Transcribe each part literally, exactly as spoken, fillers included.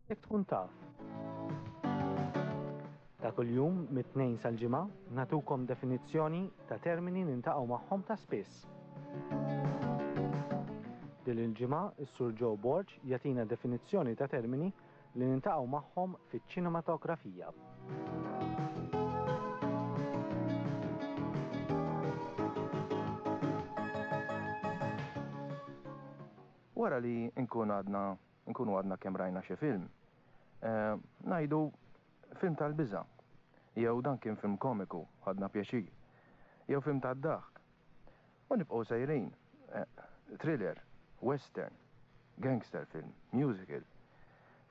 Jekk tkun taf. Ta' kuljum mit-Tnejn sal-Ġimgħa nagħtukom definizzjoni ta' termini niltaqgħu magħhom ta' spiss. Din il-ġimgħa is-Sur Joe Borg jagħtina definizzjoni ta' termini li niltaqgħu magħhom fiċ-ċinematografija. Wara li nkun għadna nkunu għadna kemm rajna xi film, eh, ngħidu film tal-biża', jew dan kien film komiku, ħadna pjaċir, jew film tad-daħk. U nibqgħu sejrin, eh, thriller, western, gangster film, musical,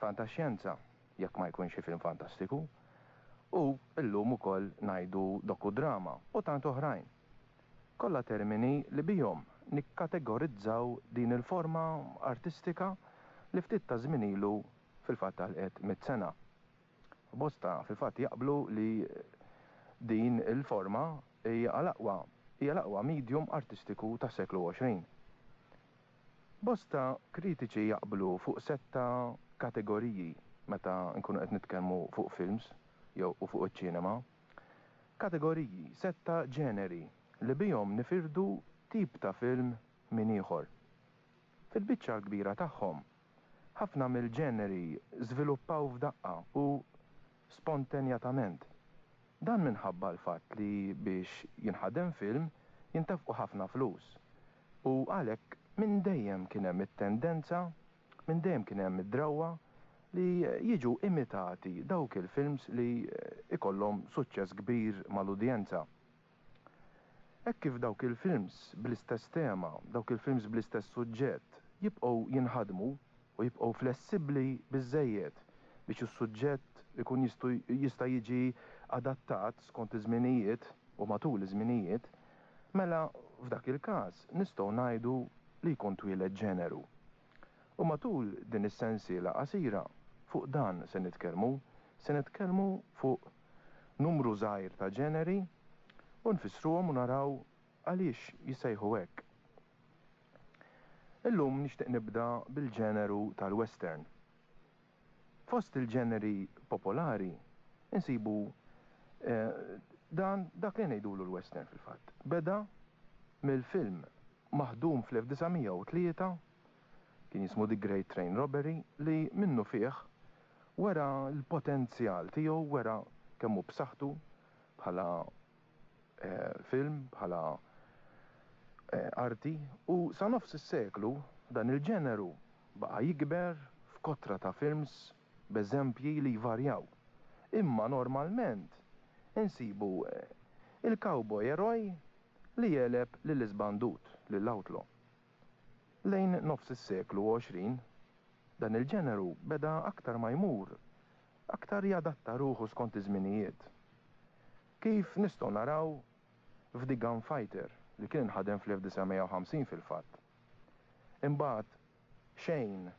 fantaxjenza, jekk ma jkunx xi film fantastiku, u llum ukoll ngħidu dokudrama u tant oħrajn. Kollha termini li bihom nikkategorizzaw din il-forma artistika li ftit ta' żmien ilu fil-fatt għalqet mitt sena. Bosta fil-fatt jaqblu li din il-forma hija l-aqwa hija l-aqwa medium artistiku tas-seklu għoxrin. Bosta kritiċi jaqblu fuq setta kategoriji meta nkunu qed nitkellmu fuq films jew u fuq iċ-ċinema. Kategoriji, setta ġeneri li bihom nifirdu tip ta' film minn ieħor. Fil-biċċa l-kbira tagħhom, ħafna mill-ġeneri żviluppaw f'daqqa u spontanjatament. Dan minħabba l-fatt li biex jinħadem film jintefqu ħafna flus u għalhekk minn dejjem kien hemm it-tendenza, minn dejjem kien hemm id-drawwa li jiġu imitati dawk il-films li ikollhom suċċess kbir mal-udjenza. Hekk kif dawk il-films bl-istess tema, dawk il-films bl-istess suġġett jibqgħu jinħadmu u jibqgħu flessibbli biżżejjed biex is-suġġett ikun jistu jista' jiġi adattat skont iż-żminijiet u matul iż-żminijiet, mela f'dak il-każ nistgħu ngħidu li jkun twieled ġeneru. U matul din is-sensiela qasira fuq dan se nitkellmu, se nitkellmu fuq numru żgħir ta' ġeneri u nfissruhom u naraw għaliex jissejħu hekk. Illum nixtieq nibda bil-ġeneru tal-western. Fost il-ġeneri popolari insibu, eh, dan dak li ngħidulu l-western fil-fatt. Beda mill-film maħdum fl-elf disa' mija u tlieta, kien jismu The Great Train Robbery, li minnu fih wera l-potenzjal tiegħu, wera kemm hu b'saħħtu bħala, eh, film, bħala, eh, arti, u sa nofs is-seklu dan il-ġeneru baqa' jikber f'kotra ta' films b'eżempji li jvarjaw. Imma normalment insibu, eh, il-cowboy eroj li jeleb lill-iżbandut, lill-outlaw. Lejn nofs is-seklu għoxrin, dan il-ġeneru beda aktar ma jmur, aktar jadatta ruħu skont iż-żminijiet. Kif nistgħu naraw f'The Gunfighter li kien inħadem fl-elf disa' mija u ħamsin fil-fatt. Imbagħad Shane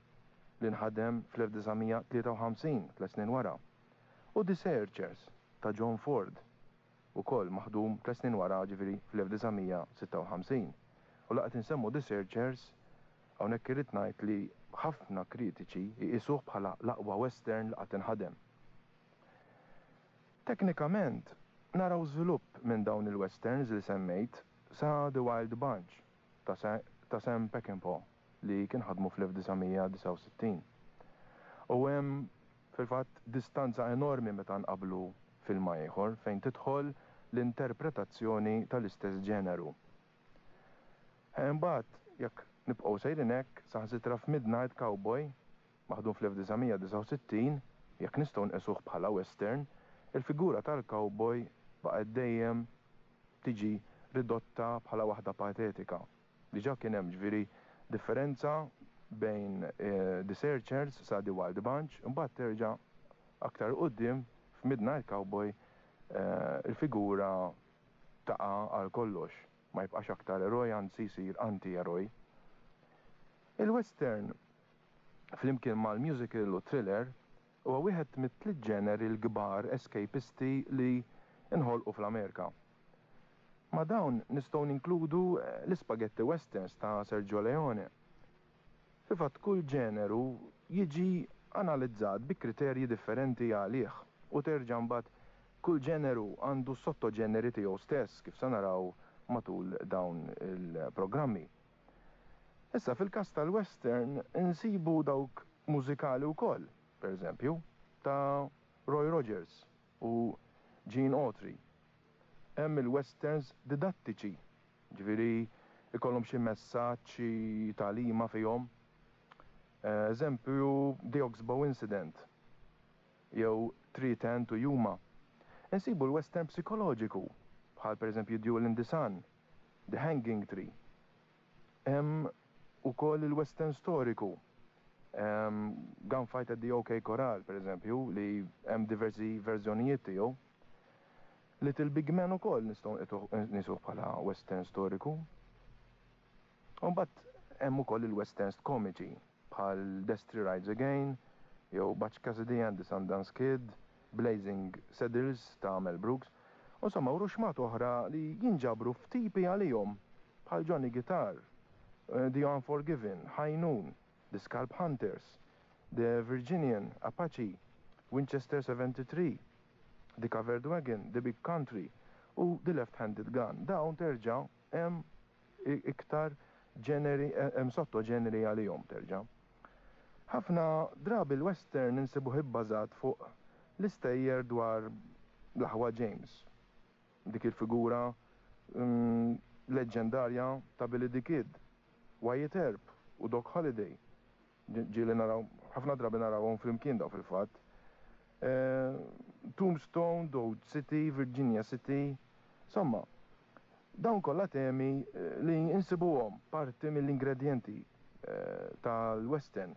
li nħadem fl-elf disa' mija tlieta u ħamsin, tliet snin wara, u The Searchers ta' John Ford, ukoll maħdum tliet snin wara, ġifieri fl-elf disa' mija sitta u ħamsin. U laqgħet insemmu The Searchers, hawnhekk irrid ngħid li ħafna kritiċi jqisuh bħala l-aqwa western li qatt inħadem. Teknikament, naraw żvilupp minn dawn il-westerns li semmejt sa The Wild Bunch ta' Sa-, ta' Sam Peckinpah li kien ħadmu fl-elf disa' mija disa' u sittin. U hemm fil-fatt distanza enormi meta nqablu film ieħor fejn tidħol l-interpretazzjoni tal-istess ġeneru. Imbagħad jekk nibqgħu sejrin hekk saħansitra f'Midnight Cowboy maħdum fl-elf disa' mija disa' u sittin, jekk nistgħu nqisuh bħala western, il-figura tal-cowboy baqgħet dejjem tiġi ridotta bħala waħda patetika. Diġà kien hemm ġifieri differenza bejn, eh, The Searchers sa The Wild Bunch, imbagħad terġa' aktar quddiem f'Midnight Cowboy, eh, il-figura taqa' għal kollox, ma jibqax aktar eroj, anzi jsir anti-eroj. Il-western flimkien mal-musical u thriller huwa wieħed mit-tliet ġeneri l-kbar escapisti li nħolqu fl-Amerika. Ma' dawn nistgħu ninkludu, eh, l-ispaghetti westerns ta' Sergio Leone. Fil-fatt kull ġeneru jiġi analizzat bi kriterji differenti għalih u terġa' mbagħad kull ġeneru għandu sottoġeneri tiegħu stess, kif se naraw matul dawn il-programmi. Issa fil-każ tal-western insibu dawk mużikali wkoll, pereżempju, ta' Roy Rogers u Gene Autry. Hemm il-westerns didattiċi, ġifieri ikollhom xi messaġġ, xi tagħlima fihom. Eżempju, The Oxbow Incident jew Three Ten to Yuma. Insibu l-western psikoloġiku, bħal pereżempju Duel in the Sun, The Hanging Tree. Hemm ukoll il-western storiku, Gunfight at the OK Corral, pereżempju, li hemm diversi verżjonijiet tiegħu. Little Big Man ukoll nistgħu nqisuh bħala western storiku. U mbagħad hemm ukoll il-westerns komiċi bħal Destry Rides Again, jew Butch Cassidy and the Sundance Kid, Blazing Saddles ta' Mel Brooks, u insomma u ruxmat oħra li jinġabru f'tipi għalihom bħal Johnny Guitar, The Unforgiven, High Noon, The Scalp Hunters, The Virginian, Apache, Winchester seventy-three, The Covered Wagon, The Big Country u The Left-Handed Gun. Dawn terġa' hemm iktar ġeneri, hemm sottoġeneri għalihom terġa'. Ħafna drabi l-western insibuh ibbażat fuq l-istejjer dwar l-aħwa James, dik il-figura mm, leġġendarja ta' Billy the Kid, Wyatt Earp u Doc Holliday. Ġieli naraw, ħafna drabi narawhom flimkien daw fil-fatt. Eh, Tombstone, Dodge City, Virginia City, insomma, dawn kollha temi eh, li insibuhom parti mill-ingredjenti eh, tal-western.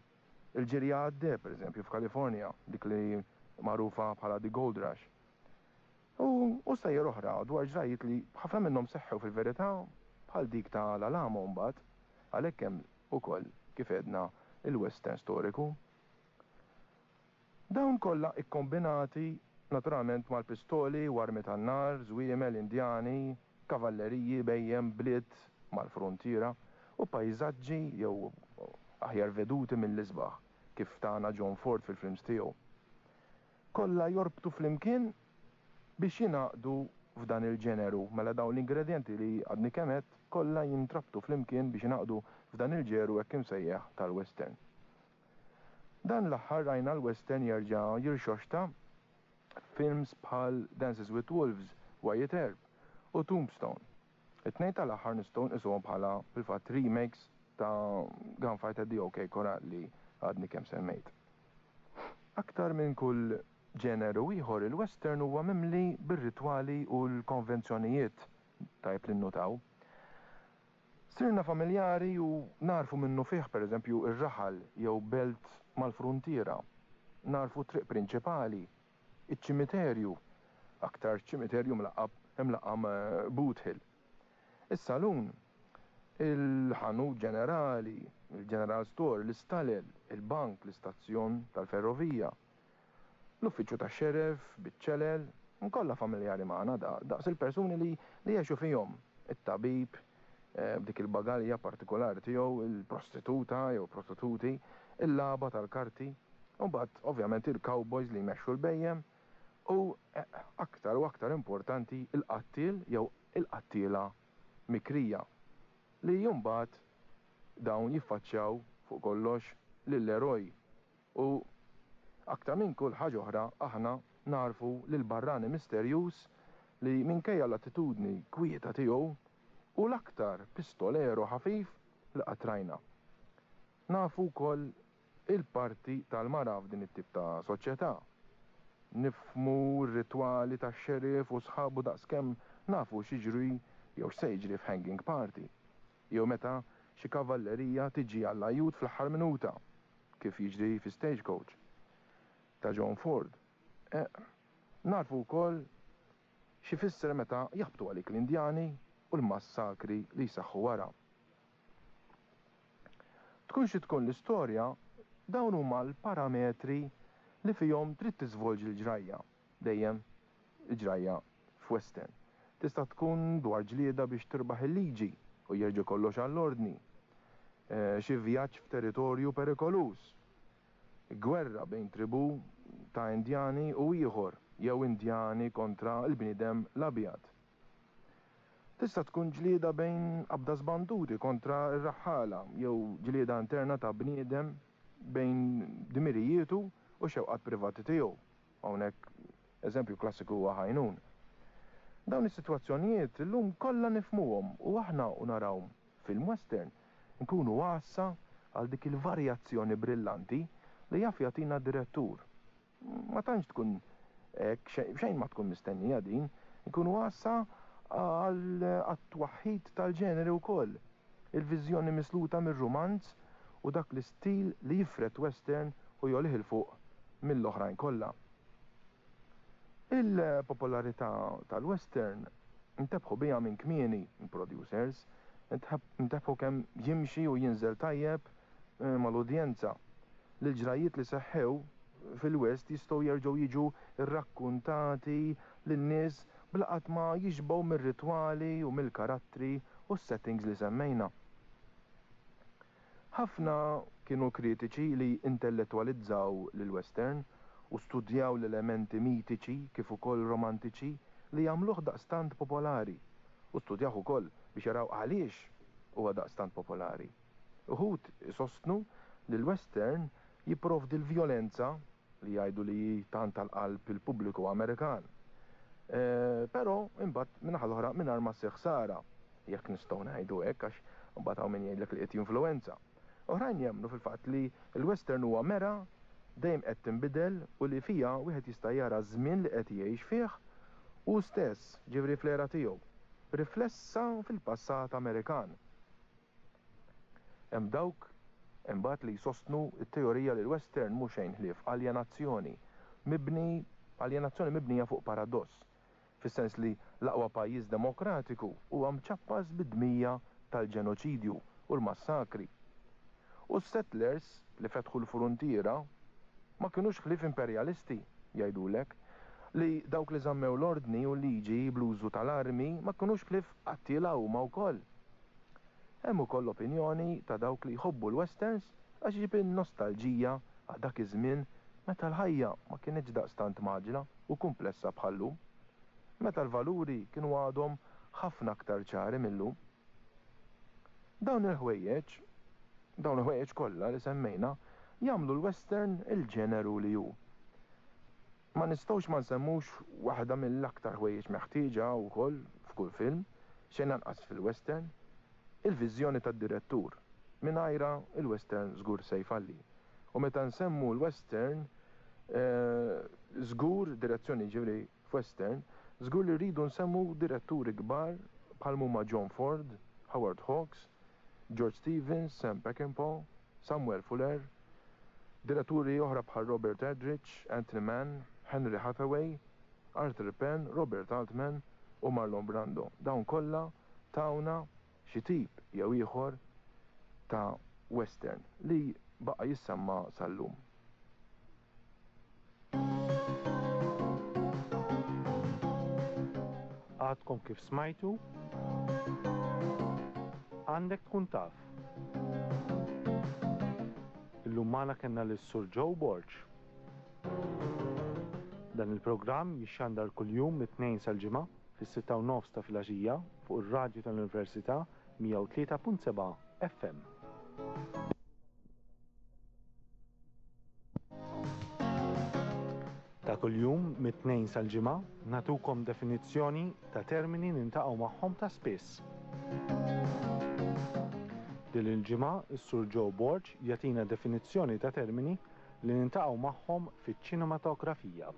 Il-ġirja għad-deheb, per eżempju, f'Kalifornja, dik li magħrufa bħala The Gold Rush. U, u stejjer oħra dwar ġrajiet li ħafna minnhom seħħew fil-verità bħal dik ta' l-Alamo mbagħad, għalhekk hemm ukoll kif għedna il-western storiku. Dawn kollha ikkombinati naturalment mal-pistoli u armi tan-nar, żwiemel, indjani, kavalleriji, bhejjem, bliet mal-frontiera u pajżaġġi jew aħjar veduti mill-isbaħ kif tana John Ford fil-films tiegħu. Kollha jorbtu flimkien biex jingħaqdu f'dan il-ġeneru, mela dawn l-ingredjenti li għadni kemm għedt kollha jintrabtu flimkien biex jingħaqdu f'dan il-ġeru hekk imsejjaħ tal-western. Dan l-aħħar rajna l-western jerġa' jirxoxta films bħal Dances with Wolves, Wyatt Earp u Tombstone. It-tnejn tal-aħħar nistgħu nqisuhom bħala fil-fatt remakes ta' Gunfight at the OK Corral li għadni kemm semmejt. Aktar minn kull ġeneru ieħor il-western huwa mimli bir-ritwali u l-konvenzjonijiet, tajb li nnutaw. Sirna familjari u narfu minnu fih, per eżempju, ir-raħal jew belt mal-frontiera, narfu triq prinċipali, iċ-ċimiterju, aktar ċimiterju mlaqqab imlaqqam Boot Hill. Is-salun, il-ħanut ġenerali, il-General Store, l-istalel, il-bank, l-istazzjon tal-ferrovija, l-uffiċċju tax-xeref, biċ-ċelel, kollha familjari magħna da, daqs il-persuni li li jgħixu fihom, it-tabib, eh, b'dik il-bagalja partikolari tiegħu, il-prostituta jew prostituti, il-lagħba tal-karti, u mbagħad ovvjament il-cowboys li jmexxu l-bhejjem, u eh, aktar u aktar importanti il-qattiel jew il-qattiela mikrija li mbagħad dawn jiffaċċjaw fuq kollox lill-eroj. U aktar minn kull ħaġa oħra aħna narfu lil barrani misterjuż li minkejja l-attitudni kwieta tiegħu u l-aktar pistolero ħafif li qatt rajna. Nafu wkoll il-parti tal-mara f'din it-tip ta' soċjetà. Nifhmu r-ritwali tax-xerif u sħabu daqskemm nafu x'jiġri jew x'se jiġri f'hanging party. Jew meta xi kavallerija tiġi għall-ajjut fl-aħħar minuta, kif jiġri fi Stagecoach ta' John Ford. Eh, narfu wkoll x'ifisser meta jaħbtu għalik l-Indjani u l-massakri li jsaħħu wara. Tkun xi tkun l-istorja, dawn huma l-parametri li fihom trid tiżvolġi l-ġrajja, dejjem il-ġrajja f'western. Tista' tkun dwar ġlieda biex tirbaħ il-liġi u jerġa' kollox għall-ordni. Eh, xi vjaġġ f'territorju perikoluż. gwerra bejn tribù ta' Indjani u ieħor, jew Indjani kontra l-bniedem l-abjad. Tista' tkun ġlieda bejn qabda żbanduti kontra r-raħħala, jew ġlieda interna ta' bniedem bejn dmirijietu u xewqat privati tiegħu. Hawnhekk eżempju klassiku huwa High Noon. Dawn is-sitwazzjonijiet illum kollha nifhmuhom u aħna u naraw film western nkunu għassa għal dik il-varjazzjoni brillanti li jaf jagħtina direttur. Ma tantx tkun hekk, xejn ma tkun mistennija din, nkunu għassa għal għat-twaħħid tal-ġeneri wkoll. Il-viżjoni misluta mir-rumanz u dak l-istil li jifred western u jgħollih 'il fuq mill-oħrajn kollha. Il-popolarità tal-western intebħu biha minn kmieni producers, intebħu kemm jimxi u jinżel tajjeb eh, mal-udjenza. L-ġrajiet li seħħew fil-West jistgħu jerġgħu jiġu rrakkuntati lin-nies bla qatt ma jixbgħu mir-ritwali u mill-karattri u s-settings li semmejna. Ħafna kienu kritiċi li intellettwalizzaw lil-western u studjaw l-elementi mitiċi kif ukoll romantiċi li jagħmluh daqstant popolari u studjaw ukoll biex jaraw għaliex huwa daqstant popolari. Uħud isostnu li l-western jipprovdi l-vjolenza li jgħidu li tant tal-qalb il-pubbliku Amerikan. E, Però imbagħad min-naħa l-oħra mingħajr ma ssir ħsara, jekk nistgħu ngħidu hekk għax imbagħad hawn min jgħidlek li qed jinfluwenza. Oħrajn jemmnu fil-fatt li l-western huwa mera dejjem qed tinbidel u li fija wieħed jista' jara żmien li qed jgħix fih u stess ġifieri fl-era tiegħu, riflessa fil-passat Amerikan. Hemm dawk imbagħad li jsostnu t-teorija li l-western mhux xejn ħlief aljenazzjoni mibni aljenazzjoni mibnija fuq paradoss, fis-sens li l-aqwa pajjiż demokratiku huwa mċappas bid-dmija tal-ġenoċidju u l-massakri. U s-settlers li fetħu l-frontiera ma kinux ħlief imperjalisti, jgħidulek, li dawk li żammew l-ordni u l-liġi bl-użu tal-armi ma kinux ħlief qattiela huma wkoll. Hemm ukoll l-opinjoni ta' dawk li jħobbu l-westerns għax iġib in-nostalġija għal dak iż-żmien meta l-ħajja ma kinitx daqstant mgħaġġla u kumplessa bħal-lum. Meta l-valuri kienu għadhom ħafna aktar ċari mil-lum. Dawn il-ħwejjeġ, dawn il-ħwejjeġ kollha li semmejna jagħmlu l-western il-ġeneru li hu. Ma nistgħux ma nsemmux waħda mill-aktar ħwejjeġ meħtieġa wkoll f'kull film, xejn anqas fil-western, il-viżjoni tad-direttur. Mingħajrha il-western żgur se jfalli. U meta nsemmu l-western, żgur direzzjoni ġifieri f'western, żgur li rridu nsemmu diretturi kbar bħal huma John Ford, Howard Hawks, George Stevens, Sam Peckinpah, Samuel Fuller, diretturi oħra bħal Robert Aldrich, Anthony Mann, Henry Hathaway, Arthur Penn, Robert Altman u Marlon Brando. Dawn kollha tawna xi tip jew ieħor ta' western li baqa' jissemma sal-lum. Għadkom kif smajtu? Għandek tkun taf. Illum magħna kellna lis-Sur Joe Borg. Dan il-programm jixxandar kuljum mit-Tnejn sal-Ġimgħa fis-sitta u nofs ta' filgħaxija fuq ir-radju tal-Università mija u tlieta punt seba' F M. Ta' kuljum mit-Tnejn sal-Ġimgħa nagħtukom definizzjoni ta' termini niltaqgħu magħhom ta' spiss. Din il-ġimgħa is-Sur Joe Borg jagħtina definizzjoni ta' termini li niltaqgħu magħhom fiċ-ċinematografija.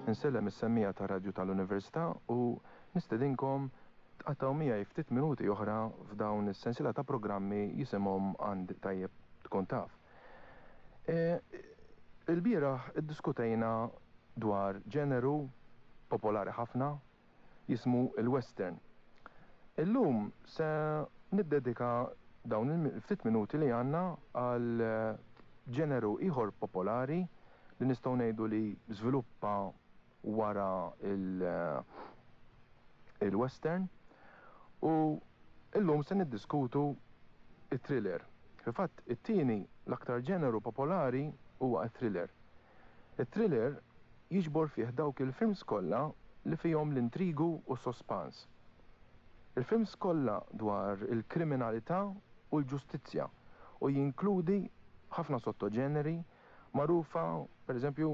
Insellem is-semmiegħa ta' Radju tal-Università u nistedinkom tqattgħu miegħi ftit minuti oħra f'dawn is-sensiela ta' programmi jisimhom Għand Tajjeb Tkun Taf. E, Il-bieraħ iddiskutejna dwar ġeneru popolari ħafna jismu il-western. Illum se niddedika dawn il-ftit minuti li għandna għal ġeneru ieħor popolari li nistgħu ngħidu li żviluppa wara il- il-western u illum se niddiskutu it-thriller. Fil-fatt, it-tieni l-aktar ġeneru popolari huwa t-thriller. It-thriller jiġbor fih dawk il-films kollha li fihom l-intrigu u s-sospans. Il-films kollha dwar il-kriminalità u l-ġustizzja u jinkludi ħafna sottoġeneri magħrufa, pereżempju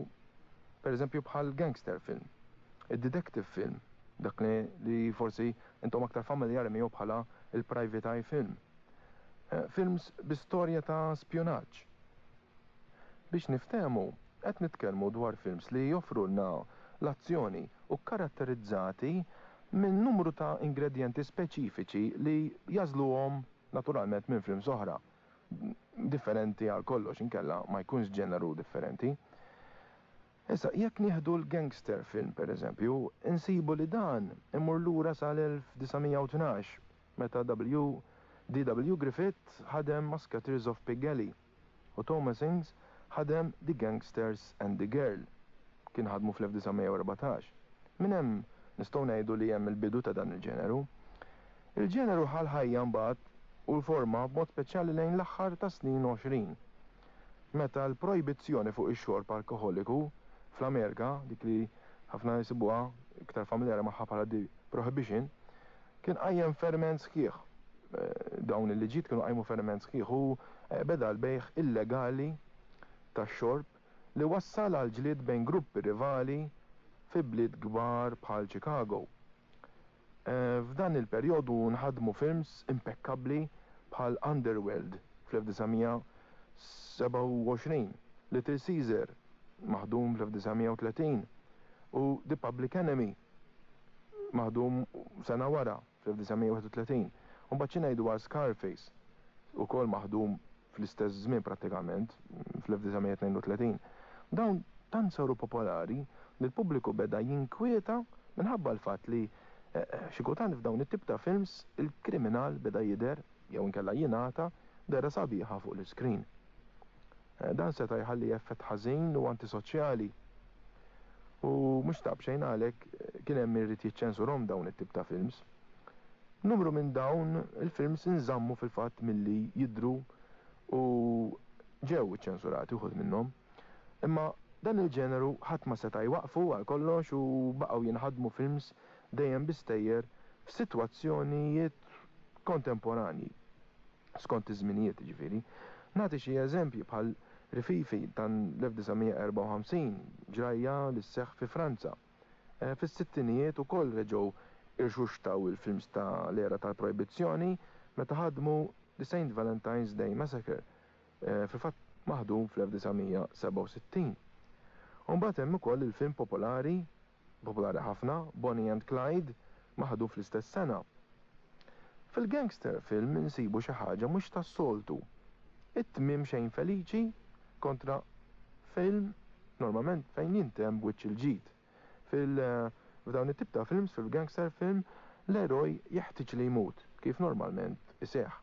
pereżempju bħal gangster film, id-detective film, dak li, li forsi intom aktar familjari miegħu bħala il-private eye film. Eh, films bi storja ta' spjunaġġ. Biex niftehmu, qed nitkellmu dwar films li joffrulna l-azzjoni u karatterizzati minn numru ta' ingredjenti speċifiċi li jagħżluhom naturalment minn films oħra. Differenti għal kollox, inkella ma jkunx ġeneru differenti. Issa, jekk nieħdu l-gangster film, per eżempju, insibu li dan imur lura sal-elf disa' mija u tnax, meta W. D W. Griffith ħadem Musketeers of Pigalle u Thomas Ince ħadem The Gangsters and the Girl. Kien ħadmu fl-elf disa' mija u erbatax. Minn hemm nistgħu ngħidu li hemm il-bidu ta' dan il-ġeneru. Il-ġeneru ħa l-ħajja mbagħad u l-forma b'mod speċjali lejn l-aħħar ta' snin għoxrin, meta l-projbizzjoni fuq ix-xorb alkoholiku fl-Amerika, dik li ħafna jsibuha iktar familjari magħha bħala the Prohibition, kien qajjem ferment sħiħ. Eh, dawn il-liġijiet kienu qajmu ferment sħiħ u eh, beda l-bejgħ illegali tax-xorb li wassal għal ġlied bejn gruppi rivali fi bliet kbar bħal Chicago. Eh, f'dan il-perjodu nħadmu films impeccabli bħal Underworld fl-elf disa' mija u sebgħa u għoxrin, Little Caesar maħdum fl-elf disa' mija u tletin u The Public Enemy maħdum sena wara fl-elf disa' mija u wieħed u tletin. U mbagħad xi ngħidu għal Scarface, ukoll maħdum fl-istess żmien prattikament fl-elf disa' mija u tnejn u tletin. Dawn tant saru popolari li l-pubbliku beda jinkwieta minħabba l-fatt li eh, eh, xi kultant f'dawn it-tip ta' films il-kriminal beda jidher jew inkella jingħata dehra sabiħa fuq l-iskrin. Eh, dan seta' jħalli effett ħażin u antisoċjali. U mhux ta' b'xejn għalhekk kien hemm irid jiċċensurhom dawn it-tip ta' films. Numru minn dawn il-films inżammu fil-fatt milli jidru u ġew iċċensurati uħud minnhom. Imma dan il-ġeneru ħadd ma seta' jwaqfu għal kollox u baqgħu jinħadmu films dejjem bi stejjer f'sitwazzjonijiet kontemporanji skont iż-żminijiet, ġifieri. Nagħti xi eżempji bħal Rififi tan-elf disa' mija u erbgħa u ħamsin, ġrajja li sseħħ fi Franza. Eh, fis-sittinijiet ukoll reġgħu irxuxtaw il-films ta' l-era tal-projbizzjoni meta ħadmu The Saint Valentine's Day Massacre, eh, fil-fatt maħdum fl-elf disa' mija u sebgħa u sittin. U mbagħad hemm ukoll il-film popolari, popolari ħafna, Bonnie and Clyde, maħdum fl-istess sena. Fil-gangster film insibu xi ħaġa mhux tas-soltu. It-tmiem xejn feliċi kontra film normalment fejn jintemm b'wiċċ il-ġid. Fil f'dawn it-tip ta' films, fil-gangster film, l-eroj jeħtieġ li jmut, kif normalment iseħħ.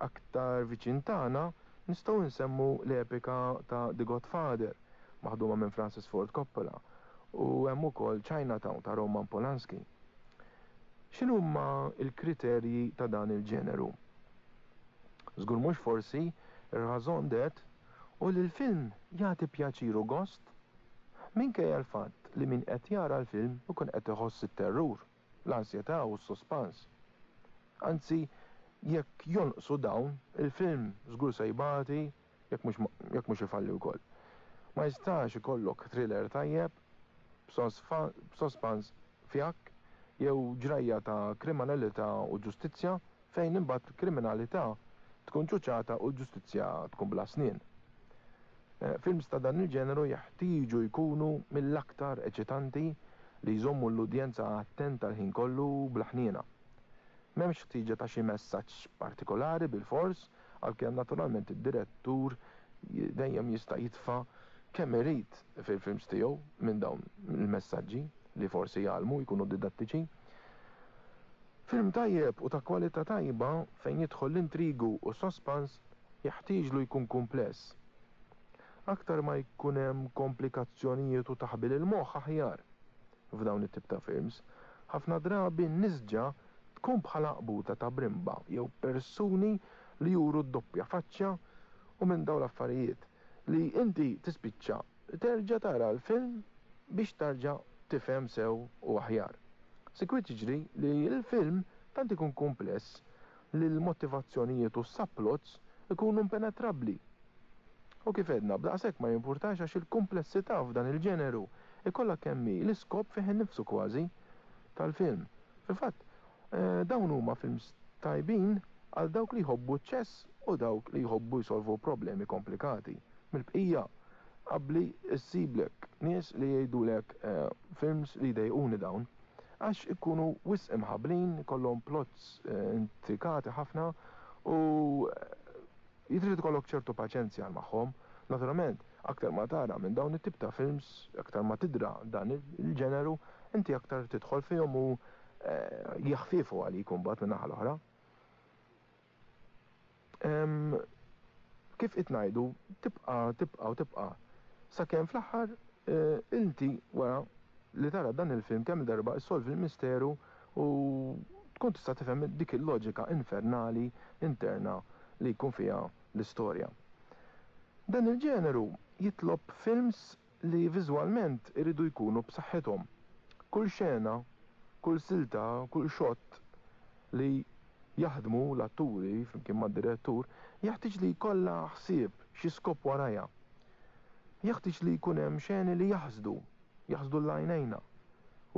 Aktar viċin tagħna nistgħu nsemmu l-epika ta' The Godfather, maħduma minn Francis Ford Coppola, u hemm ukoll Chinatown ta' Roman Polanski. X'inhuma l-kriterji ta' dan il-ġeneru? Żgur mhux forsi ir-raison d'être u li l-film jagħti pjaċir u gost minkejja l-fatt li min qed jara l-film ikun qed iħoss it-terrur, l-ansjetà u s-sospans. Anzi, jekk jonqsu dawn, il-film żgur se jbati jekk mhux jekk mhux ifalli wkoll. Ma jistax ikollok thriller tajjeb b'sospans fjakk jew ġrajja ta' kriminalità u ġustizzja fejn imbagħad kriminalità tkun ċuċata u l-ġustizzja tkun bla snien. Eh, films ta' dan il-ġeneru jeħtieġu jkunu mill-aktar eċitanti li jżommu l-udjenza attenta l-ħin kollu bla ħniena. M'hemmx ħtieġa ta' xi messaġġ partikolari bil-fors, għalkemm naturalment id-direttur dejjem jista' jitfa' kemm irid fil-films tiegħu minn dawn il-messaġġi li forsi jgħallmu, jkunu didattiċi. Film tajjeb u ta' kwalità tajba fejn jidħol l-intrigu u sospans jeħtieġlu jkun kumpless. Aktar ma jkun hemm komplikazzjonijiet u taħbil il-moħħ, aħjar f'dawn it-tip ta' films. Ħafna drabi n-nisġa tkun bħala qbuta ta' brimba jew persuni li juru d-doppja faċċa u minn dawn l-affarijiet li inti tispiċċa terġa' tara l-film biex tarġa' tifhem sew u aħjar. Sikwit jiġri li l-film tant ikun kumpless li l-motivazzjonijiet u s-subplots ikunu impenetrabbli. U kif għedna, b'daqshekk ma jimpurtax għax il-kumplessità f'dan il-ġeneru ikollha kemm hi l-iskop fih innifsu kważi tal-film. Fil-fatt, dawn huma films tajbin għal dawk li jħobbu ċ-ċess u dawk li jħobbu jsolvu problemi komplikati. Mill-bqija, abbli issiblek nies li jgħidulek films li jdejquni dawn għax ikunu wisq imħabblin, ikollhom plots intrikati ħafna u jitrid ikollok ċertu paċenzja magħhom. Naturalment, aktar ma tara minn dawn it-tip ta' films, aktar ma tidra dan il-ġeneru, inti aktar tidħol fihom u jaħfifu għalik imbagħad minn naħa l-oħra. Kif qed ngħidu, tibqa' tibqa' u tibqa' sakemm fl-aħħar inti wara li tara dan il-film kemm darba issolvi l-misteru u tkun tista' tifhem dik il-loġika infernali interna li jkun fiha l-istorja. Dan il-ġeneru jitlob films li viżwalment iridu jkunu b'saħħithom. Kull xena, kull silta, kull shot li jaħdmu l-atturi flimkien mad-direttur jeħtieġ li jkollha ħsieb xi skop warajha. Jeħtieġ li jkun hemm xeni li jaħsdu, jaħsdu l-għajnejna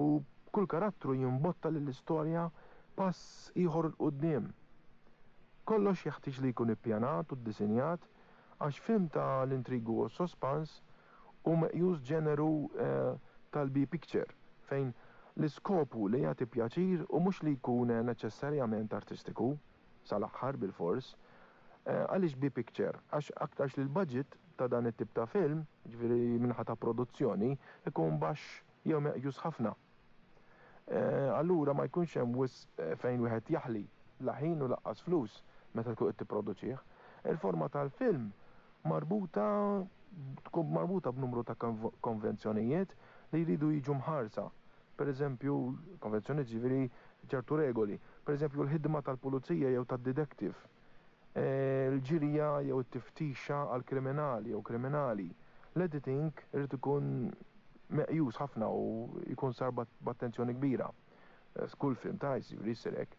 u kull karattru jimbotta lill-istorja pass ieħor 'l quddiem. Kollox jeħtieġ li jkun ippjanat u ddisinjat għax film ta' l-intrigu u s-sospans hu meqjus ġeneru tal-B-picture fejn l-iskopu li jagħti pjaċir u mhux li jkun neċessarjament artistiku sal-aħħar bilfors. Għaliex B-picture? Għax aktarx li l-budget ta' dan it-tip ta' film, jiġifieri minħa ta' produzzjoni, ikun baxx jew meqjus ħafna. Allura ma jkunx hemm wisq fejn wieħed jaħli la ħin u laqqas flus meta tkun qed tipproduċih. Il-forma tal-film marbuta tkun marbuta b'numru ta' konvenzjonijiet li jridu jiġu mħarsa. Per eżempju, konvenzjonijiet ġifieri ċertu regoli. Per eżempju, l-ħidma tal-pulizija jew tad-detective, il-ġirja jew it-tiftixa għal kriminali jew kriminali. L-editing irid ikun meqjus ħafna u jkun sar b'attenzjoni kbira. Kull film ta' jiġifieri jsir hekk.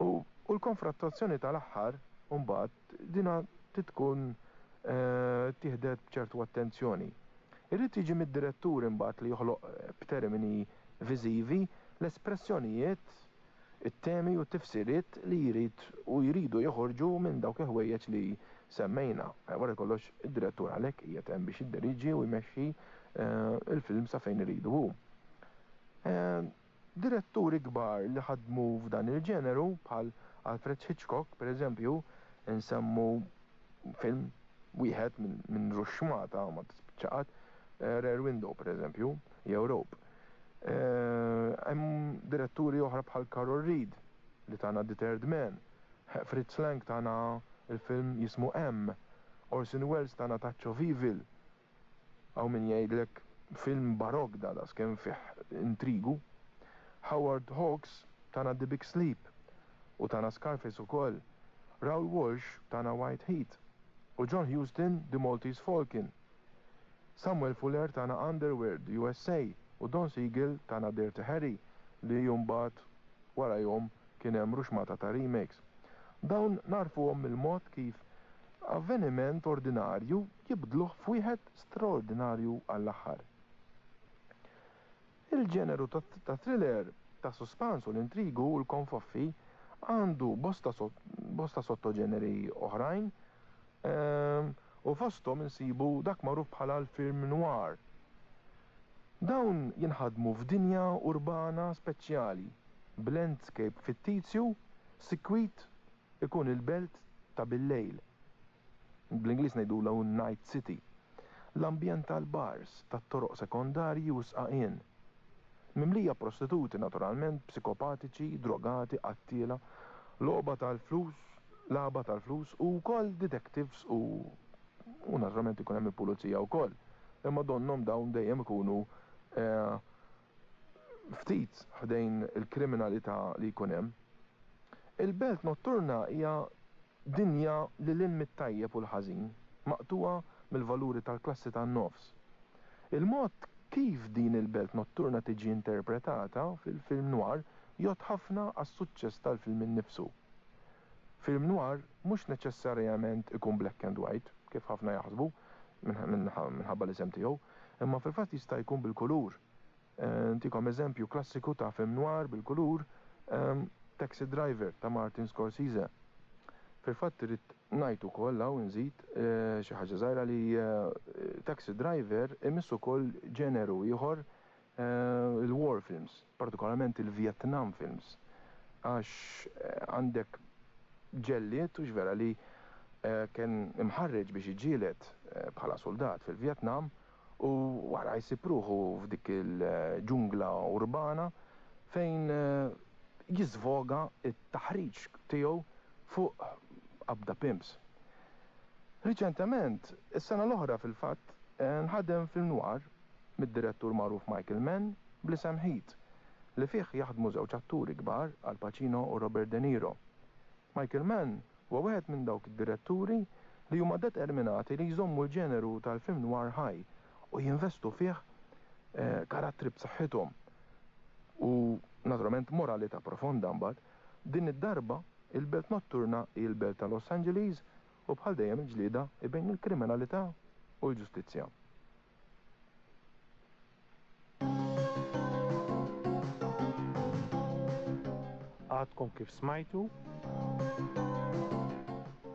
U l-konfrontazzjoni tal-aħħar mbagħad dina tkun tieħdet b'ċertu attenzjoni. Irrid jiġi mid-direttur imbagħad li joħloq b'termini viżivi l-espressjonijiet, it-temi u t-tifsiriet li jrid u jridu joħorġu minn dawk il-ħwejjeġ li semmejna. Wara kollox id-direttur għalhekk qiegħed hemm biex jiddiriġi u jmexxi il-film sa fejn iridu hu. Diretturi kbar li ħadmu f'dan il-ġeneru bħal Alfred Hitchcock, per eżempju, insemmu film wieħed minn ruxxmata ma tispiċċa qatt, Rear Window, per eżempju, jew Rope. Hemm diretturi oħra bħal Carol Reed li tana The Third Man, Fritz Lang tana il-film jismu M, Orson Welles tana Touch of Evil. Hawn min jgħidlek film barok da da skemm fih intrigu. Howard Hawks tana The Big Sleep u tana Scarface ukoll. Raoul Walsh tana White Heat u John Huston The Maltese Falcon. Samuel Fuller tana Underworld U S A u Don Siegel tana Dirty Harry li mbagħad warajhom kien hemm ruxmata ta' remakes. Dawn narfuhom mill-mod kif avveniment ordinarju jibdluh f'wieħed straordinarju għall-aħħar. Il-ġeneru ta' thriller, ta' suspans u l-intrigu u l-konfoffi għandu bosta, bosta sottoġeneri oħrajn u fosthom insibu dak magħruf bħala l-film noir. Dawn jinħadmu f'dinja urbana speċjali, b'landscape fittizju, sikwit ikun il-belt ta' bil-lejl. Bl-Ingliż ngħidulha Night City. L-ambjent tal-bars, tat-toroq sekondarji u sqaqien. Mimlija prostituti naturalment, psikopatiċi, drogati, qattiela, logħba tal-flus, lagħba tal-flus u wkoll detectives u u naturalment ikun hemm il-pulizija wkoll. Imma donnhom dawn dejjem ikunu eh, ftit ftit ħdejn il-kriminalità li jkun hemm. Il-belt notturna hija dinja lil hinn mit-tajjeb u l-ħażin, maqtugħa mill-valuri tal-klassi tan-nofs. Il-mod kif din il-belt notturna tiġi interpretata fil-film noir jgħodd ħafna għas-suċċess tal-film innifsu. Film noir mhux neċessarjament ikun black and white, kif ħafna jaħsbu minħabba l-isem tiegħu, imma fil-fatt jista' jkun bil-kulur. Ntikom eżempju klassiku ta' film noir bil-kulur, Taxi Driver ta' Martin Scorsese. Fil-fatt irrid ngħid ukoll hawn nżid xi ħaġa żgħira li Taxi Driver imiss ukoll ġeneru ieħor, il-war films, partikolarment il-Vietnam films, għax għandek ġellied u vera li kien imħarreġ biex iġġieled bħala soldat fil-Vietnam u wara jsib ruħu f'dik il-ġungla urbana fejn jiżvoga t-taħriġ tiegħu fuq qabda pimps. Riċentement, is-sena l-oħra fil-fatt, nħadem film noir mid-direttur magħruf Michael Mann bl-isem Heat, li fih jaħdmu żewġ atturi kbar, Al Pacino u Robert De Niro. Michael Mann huwa wieħed minn dawk id-diretturi li huma determinati li jżommu l-ġeneru tal-film noir ħaj u jinvestu fih karattri b'saħħithom u naturalment moralità profonda mbagħad. Din id-darba il-belt notturna hi l-belt ta' Los Angeles u bħal dejjem il-ġlieda hi bejn il-kriminalità u l-ġustizzja. Għadkom kif smajtu?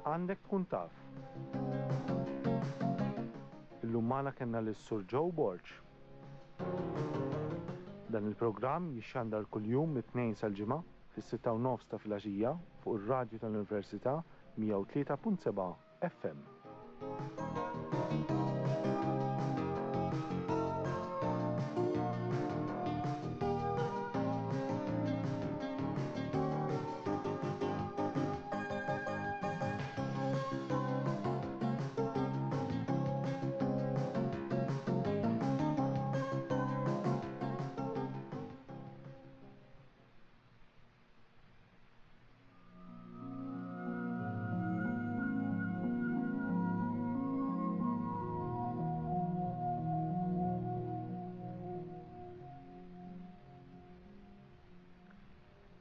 Għandek tkun taf. Illum magħna kellna lis-Sur Joe Borg. Dan il-programm jixxandar kuljum mit-tnejn sal-ġimgħa fis-sitta u nofs ta' filgħaxija fuq ir-radju tal-Università mija u tlieta punt seba' F M.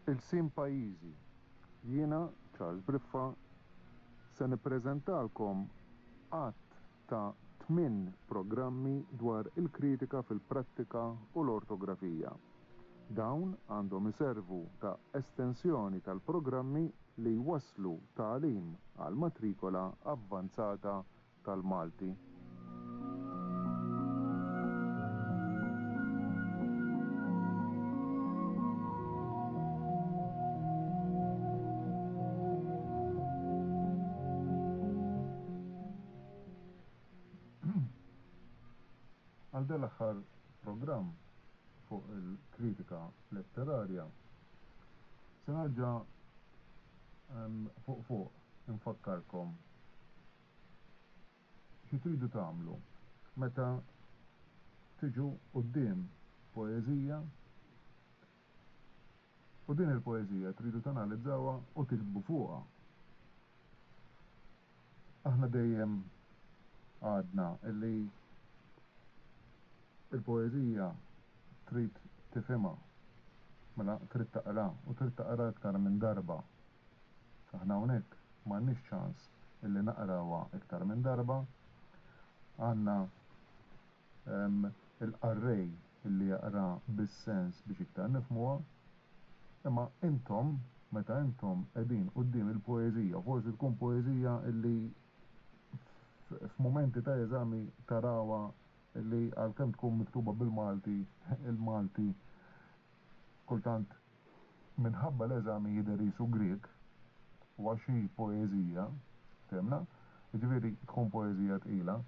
Il-sim pajjiżi. Jiena, Charles Briffa, se nippreżentalkom għadd ta' tmien programmi dwar il-kritika fil-prattika u l-ortografija. Dawn għandhom iservu ta' estensjoni tal-programmi li jwasslu tagħlim għal matrikola avvanzata tal-Malti. Għal dal-aħħar programm fuq il-kritika letterarja, se nerġa', ehm, fuq fuq infakkarkom xi tridu tagħmlu meta tiġu quddiem poeżija u din il-poeżija tridu tanalizzawha u tiktbu fuqha. Aħna dejjem għadna illi il-poeżija trid tifhimha, mela trid taqra u trid taqra iktar minn darba. Aħna hawnhekk m'għandniex ċans illi naqrawha iktar minn darba. Għandna, ehm, il-qarrej illi jaqra bis-sens biex iktar nifhmuha, imma intom meta intom qegħdin quddiem il-poeżija, forsi tkun poeżija illi f-, f'mumenti ta' eżami tarawha li għalkemm tkun miktuba bil-Malti, il-Malti kultant minħabba l-eżami jidher qisu Grieg, u għax hi poeżija, fehmna? Jiġifieri tkun poeżija tqila,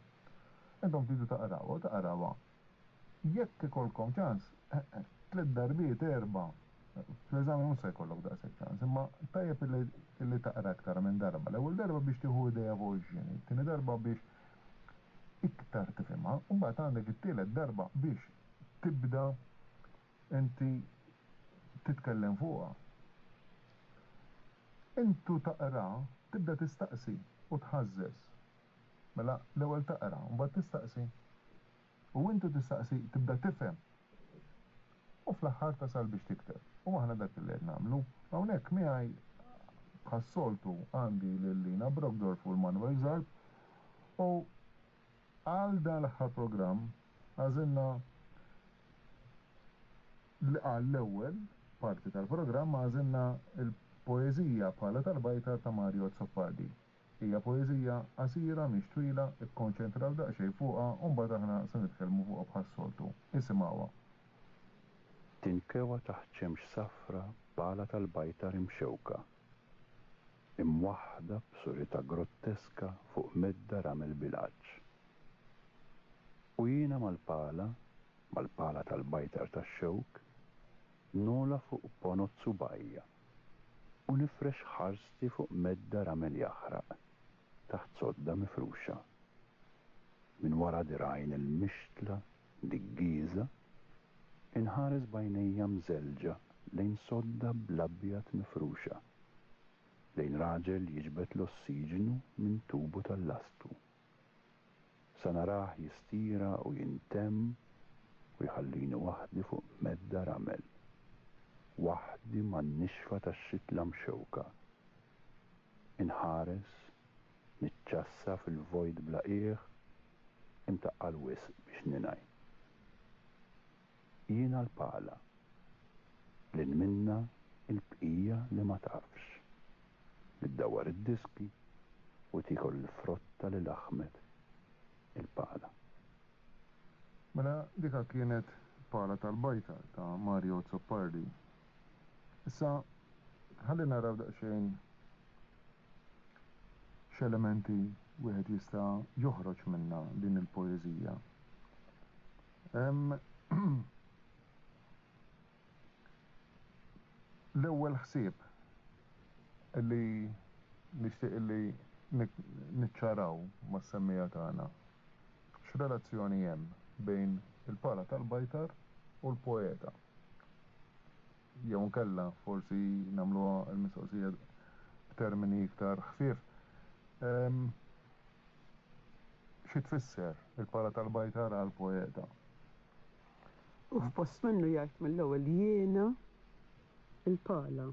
intom tridu taqrawha u taqrawha. Jekk ikollkom ċans, eh, eh, tliet darbiet, erba', fl-eżami mhux se jkollok daqshekk ċans, imma tajjeb illi, illi taqra aktar minn darba. L-ewwel darba biex tieħu idea fuq ix-xini, tieni darba biex iktar tifhimha, u mbagħad għandek it-tielet darba biex tibda inti Titkellem fuqha. Intu taqra, tibda tistaqsi u tħażżeż. Mela l-ewwel taqra, mbagħad tistaqsi. U intu tistaqsi tibda tifhem. U fl-aħħar tasal biex tikteb. U aħna dak li qed nagħmlu. Hawnhekk miegħi bħas-soltu għandi lil Lina Brockdorff u l-Manuel Zarb u għal dan l-aħħar programm għażilna għall-ewwel parti tal-programm għażilna il-poeżija Pala tal-Bajtar ta' Mario Azzopardi. Hija poeżija qasira mhix twila, ikkonċentraw daqsxejn fuqha u mbagħad aħna se nitkellmu fuqha bħas-soltu. Isimgħuha. Tinkewa taħt xemx safra pala tal-bajtar imxewka, imwaħħda b'surita grotteska fuq medda ramel bil-għaġġ. U jiena mal-pala, mal-pala tal-bajtar tax-xewk, nola fuq ponot subajja u nifrex ħarsti fuq medda ramel jaħraq taħt sodda mifruxa. Min wara dirgħajn il-mixtla diggiża inħares b'għajnejja mżelġa lejn sodda bl-abjad mifruxa, lejn raġel jiġbed l-ossiġenu minn tubu tal-lastu. Sa narah jistira u jintemm u jħallini waħdi fuq medda ramel, waħdi man-nixfa tax-xitla mxewka. Inħares, niċċassa fil-vojt bla qiegħ, imtaqqal wisq biex ninaj. Jiena l-pala, lil minna il-bqija li ma tafx, li ddawwar id-diski u tiekol il-frotta li laħmet il-pala. Mela dika kienet Pala tal-Bajtar ta' Mario Azzopardi. Issa ħalli naraw daqsxejn x'elementi wieħed jista' joħroġ minna din il-poeżija. L-ewwel ħsieb li nixtieq li niċċaraw mas-semmija tagħna. X'relazzjoni hemm bejn il-pala tal-bajtar u l-poeta? Jew nkella forsi nagħmluha l-mistoqsija b'termini iktar ħfief. Xi tfisser il-pala tal-bajtar għall-poeta? U f'post minnu jgħid mill-ewwel jiena il-pala,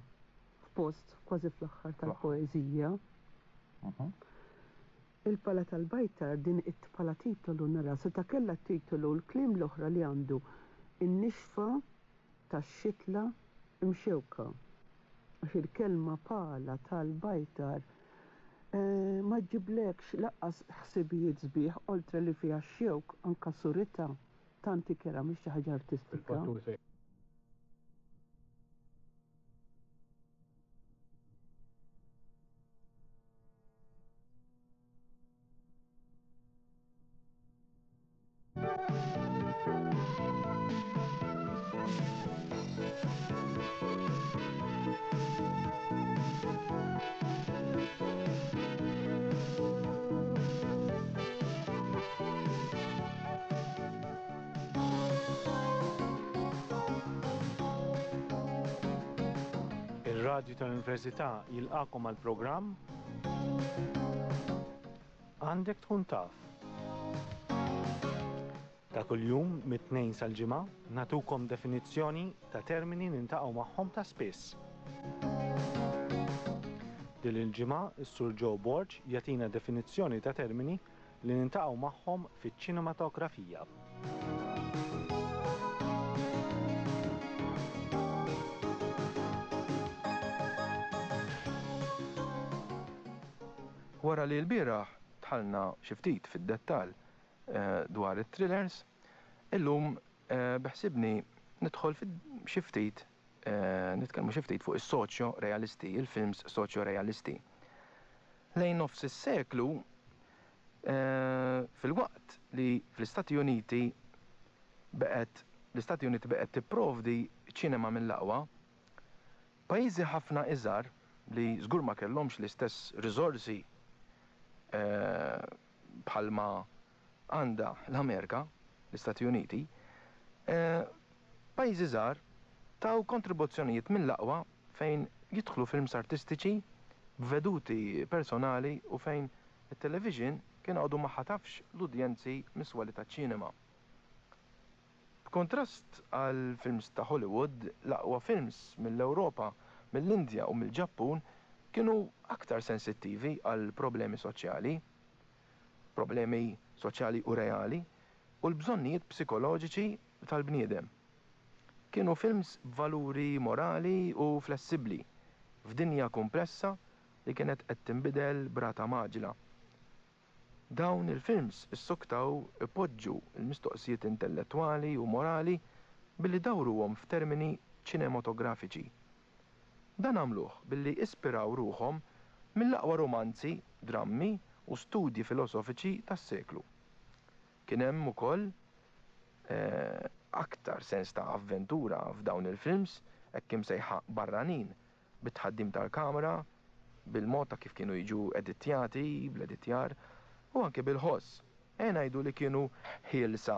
f'post kważi fl-aħħar tal-poeżija. Il-pala tal-bajtar din it-pala titolu nara seta' kellha titolu l-kliem l-oħra li għandu in-nixfa tax-xitla imxewka. Għax il-kelma pala tal-bajtar ma ġiblekx laqqas ħsibijiet sbieħ oltre li fiha x-xewk anka surita tanti kera mhix xi ħaġa artistika. Ir-Radju tal-Università jilqakom għal programm Għandek tkun taf. Ta' kuljum mit-tnejn sal-ġimgħa nagħtukom definizzjoni ta' termini nintaqgħu magħhom ta' spiss. Din il-ġimgħa is-Sur Joe Borg jagħtina definizzjoni ta' termini li nintaqgħu magħhom fiċ-ċinematografija. Wara li l-bieraħ dħalna xi ftit fid-dettall dwar it-thrillers, illum beħsibni nidħol xi ftit nitkellmu xi ftit fuq is-soċjo-realisti, il-films soċjo-realisti. Lejn nofs is-seklu fil-waqt li fl-Istati Uniti beqgħet l-Istati Uniti beqgħet tipprovdi ċinema mill-aqwa, pajjiżi ħafna iżgħar li żgur ma kellhomx l-istess riżorsi bħalma għandha l-Amerika, l-Istati Uniti, pajjiżi żgħar taw kontribuzzjonijiet mill-aqwa fejn jidħlu films artistiċi, b'veduti personali u fejn it-television kien għadu ma ħatafx l-udjenzi mis-swali taċ-ċinema. B'kontrast għal films ta' Hollywood, l-aqwa films mill-Ewropa, mill-Indja u mill-Ġappun kienu aktar sensittivi għal problemi soċjali, problemi soċjali u reali, u l-bżonnijiet psikoloġiċi tal-bniedem. Kienu films b'valuri morali u flessibbli f'dinja komplessa li kienet qed tinbidel b'rata mgħaġġla. Dawn il-films issoktaw ipoġġu l-mistoqsijiet intellettwali u morali billi dawruhom f'termini ċinematografiċi. Dan għamluh billi ispiraw ruħhom mill-aqwa romanzi, drammi u studji filosofiċi tas-seklu. Kien hemm ukoll eh, aktar sens ta' avventura f'dawn il-films hekk imsejħa barranin, bit-tħaddim tal-kamera, bil-mod ta' kif kienu jiġu edittjati, bl-editjar, u anke bil-ħoss. E ngħidu li kienu ħielsa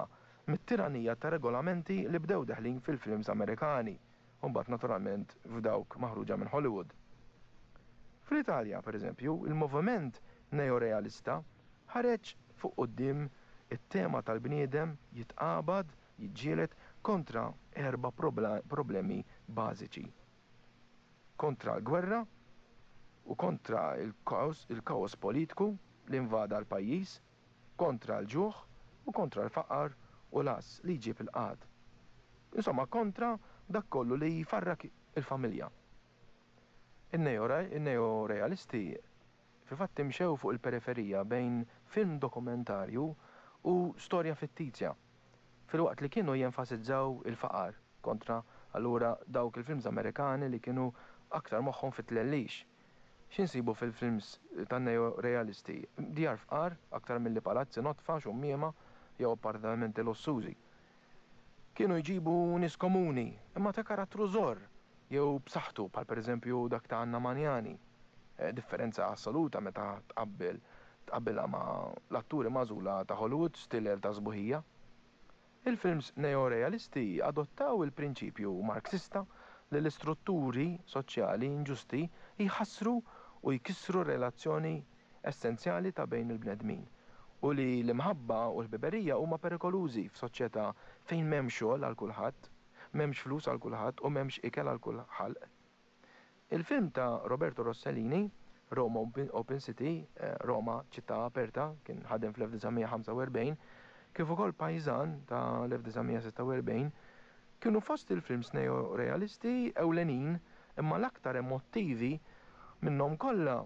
mit-tiranija ta' regolamenti li bdew deħlin fil-films Amerikani, u mbagħad naturalment f'dawk maħruġa minn Hollywood. Fl-Italja, per eżempju, il-moviment neorealista ħareġ fuq quddiem it-tema tal-bniedem jitqabad, jiġġieled kontra erba' problemi bażiċi. Kontra l-gwerra u kontra il-kaos, il-kaos politiku li invada l-pajjiż, kontra l-ġuħ u kontra l-faqar u l-għażż li jġib il-qgħad. Insomma, kontra dak kollu li jfarrak il-familja. In-neorealisti fil-fatt imxew fuq il-periferija bejn film dokumentarju u storja fittizja, filwaqt li kienu jenfasizzaw il-faqar kontra allura dawk il-films Amerikani li kienu aktar moħħhom fit-tlellix. X'insibu fil-films tan-neorealisti? Djar fqar aktar milli palazzi nodfa, xummiema jew appartamenti lussużi. Kienu jġibu nies komuni, imma ta' karattru żorr jew b'saħħtu, bħal pereżempju dak ta' Anna Magnani. Eh, differenza assoluta meta tqabbel tqabbilha ma' l-atturi magħżula ta' Hollywood, stiller ta' sbuħija. Il-films neorealisti adottaw il-prinċipju Marxista li l-istrutturi soċjali inġusti jħassru u jkissru relazzjoni essenzjali ta' bejn il-bnedmin u li l-imħabba u l-ħbiberija huma perikolużi f'soċjetà fejn m'hemmx xogħol għal kulħadd, m'hemmx flus għal kulħadd u m'hemmx ikel għal kull ħalq. Il-film ta' Roberto Rossellini, Roma Open City, eh, Roma ċittà aperta, kien ħadem fl-elf disa' mija ħamsa u erbgħin, kif ukoll Pajżan ta' l-elf disa' mija sitta u erbgħin, kienu fost il-films neorealisti ewlenin, imma l-aktar emottivi minnhom kollha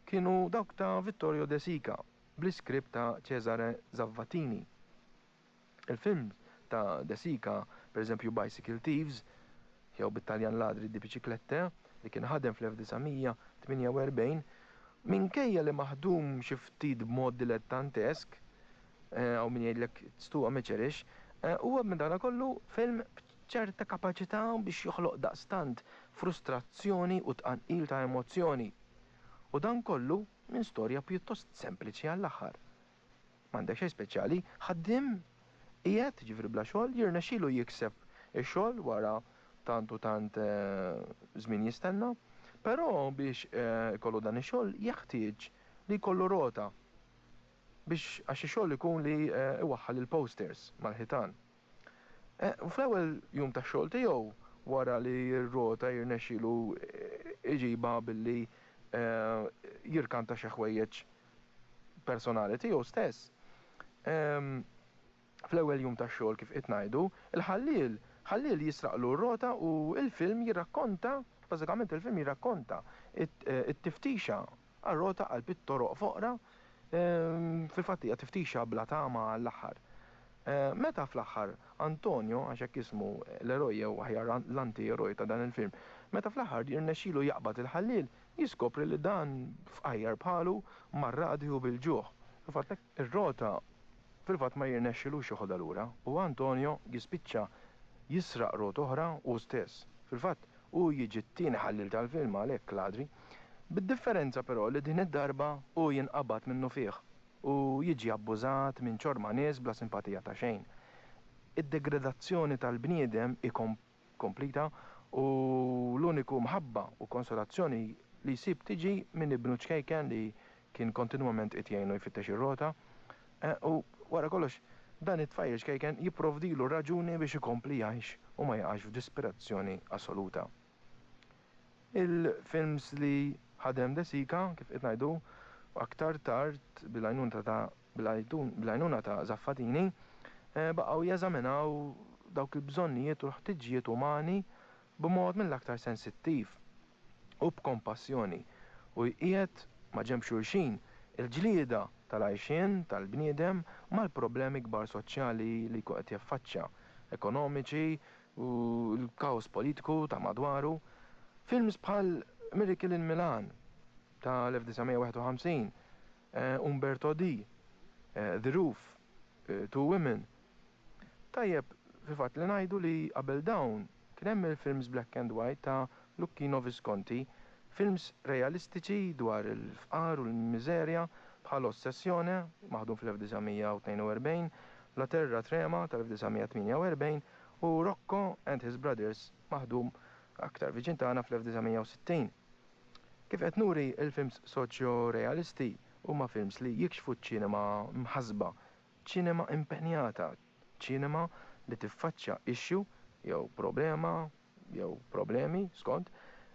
kienu dawk ta' Vittorio De Sica, bl-iskript ta' Cesare Zavattini. Il-film ta' De Sica, per eżempju Bicycle Thieves, jew bit-Taljan Ladri di Biciclette, li kien ħadem fl-elf disa' mija tmienja u erbgħin, minkejja li maħdum xi ftit b'mod dilettantesk, eh, hawn min jgħidlek it's too amateurish, eh, huwa minn dana kollu film b'ċerta kapaċità biex joħloq daqstant frustrazzjoni u tqanqil ta' emozzjoni. U dan kollu minn storja pjuttost sempliċi għall-aħħar. M'għandek xejn speċjali, ħaddiem qiegħed ġifri bla xogħol jirnexxielu jikseb ix-xogħol wara tant u tant, eh, żmien jistenna, però biex, eh, ikollu dan ix-xogħol jeħtieġ li jkollu rota biex għax ix-xogħol ikun li, eh, iwaħħal il-posters mal-ħitan. Eh, u fl-ewwel jum tax-xogħol tiegħu wara li r-rota jirnexxielu, eh, iġibha billi, eh, jirkanta xi ħwejjeġ personali tiegħu stess. Ehm, fl-ewwel jum tax-xogħol kif qed ngħidu, il-ħalliel ħalliel jisraqlu r-rota u il-film jirrakkonta, bażikament il-film jirrakkonta it-, eh, it-tiftixa għar-rota għal bit-toroq foqra, ehm, fil-fatt hija tiftixa bla tama għall-aħħar. Eh, meta fl-aħħar Antonio, għax hekk ismu l-eroj jew aħjar l-anti-eroj ta' dan il-film, meta fl-aħħar jirnexxielu jaqbad il-ħalliel, jiskopri li dan fqajjar bħalu marradi u bil-ġuħ. Fil-fatt ir-rota fil-fatt ma jirnexxilux joħodha lura u Antonio jispiċċa jisraq rota oħra u stess. Fil-fatt hu jiġi t-tieni ħalliel tal-film għalhekk ladri. Bid-differenza però li din id-darba hu jinqabad minnu fih u jiġi abbużat minn ċorma nies bla simpatija ta' xejn. Id-degradazzjoni tal-bniedem komplita u l-uniku mħabba u konsolazzjoni li jsib tiġi minn ibnu ċkejken li kien kontinwament qed jgħinu jfittex ir-rota. Eh, u wara kollox dan it-tfajjel ċkejken jipprovdilu raġuni biex ikompli jgħix u ma jaqax f'disperazzjoni assoluta. Il-films li ħadem De Sica, kif qed ngħidu, aktar tard bil-għajnuna ta' bil-għajnuna ta' Zaffatini, eh, baqgħu jeżaminaw dawk il-bżonnijiet u l-ħtiġijiet umani b'mod mill-aktar sensittiv u b'kompassjoni u jqiegħed ma' ġenb xulxin il-ġlieda tal-għajxien tal-bniedem mal-problemi kbar soċjali li jkun qed jaffaċċja, ekonomiċi u l-kaos politiku ta' madwaru. Films bħal Miracle in Milan ta' elf disa' mija wieħed u ħamsin, eh, Umberto D, eh, The Roof, eh, Two Women. Tajjeb fil-fatt li ngħidu li qabel dawn kien hemm il-films black and white ta' Luchino Visconti, films realistiċi dwar il-fqar u l-miżerja bħal Ossessione, maħdum fl-elf disa' mija tnejn u erbgħin, La Terra Trema tal-elf disa' mija tmienja u erbgħin u Rocco and His Brothers, maħdum aktar viċin tagħna fl-elf disa' mija u sittin. Kif qed nuri, il-films soċjo-realisti huma films li jikxfu ċ-ċinema mħasba, ċinema impenjata, ċinema li tiffaċċja issue jew problema jew problemi skont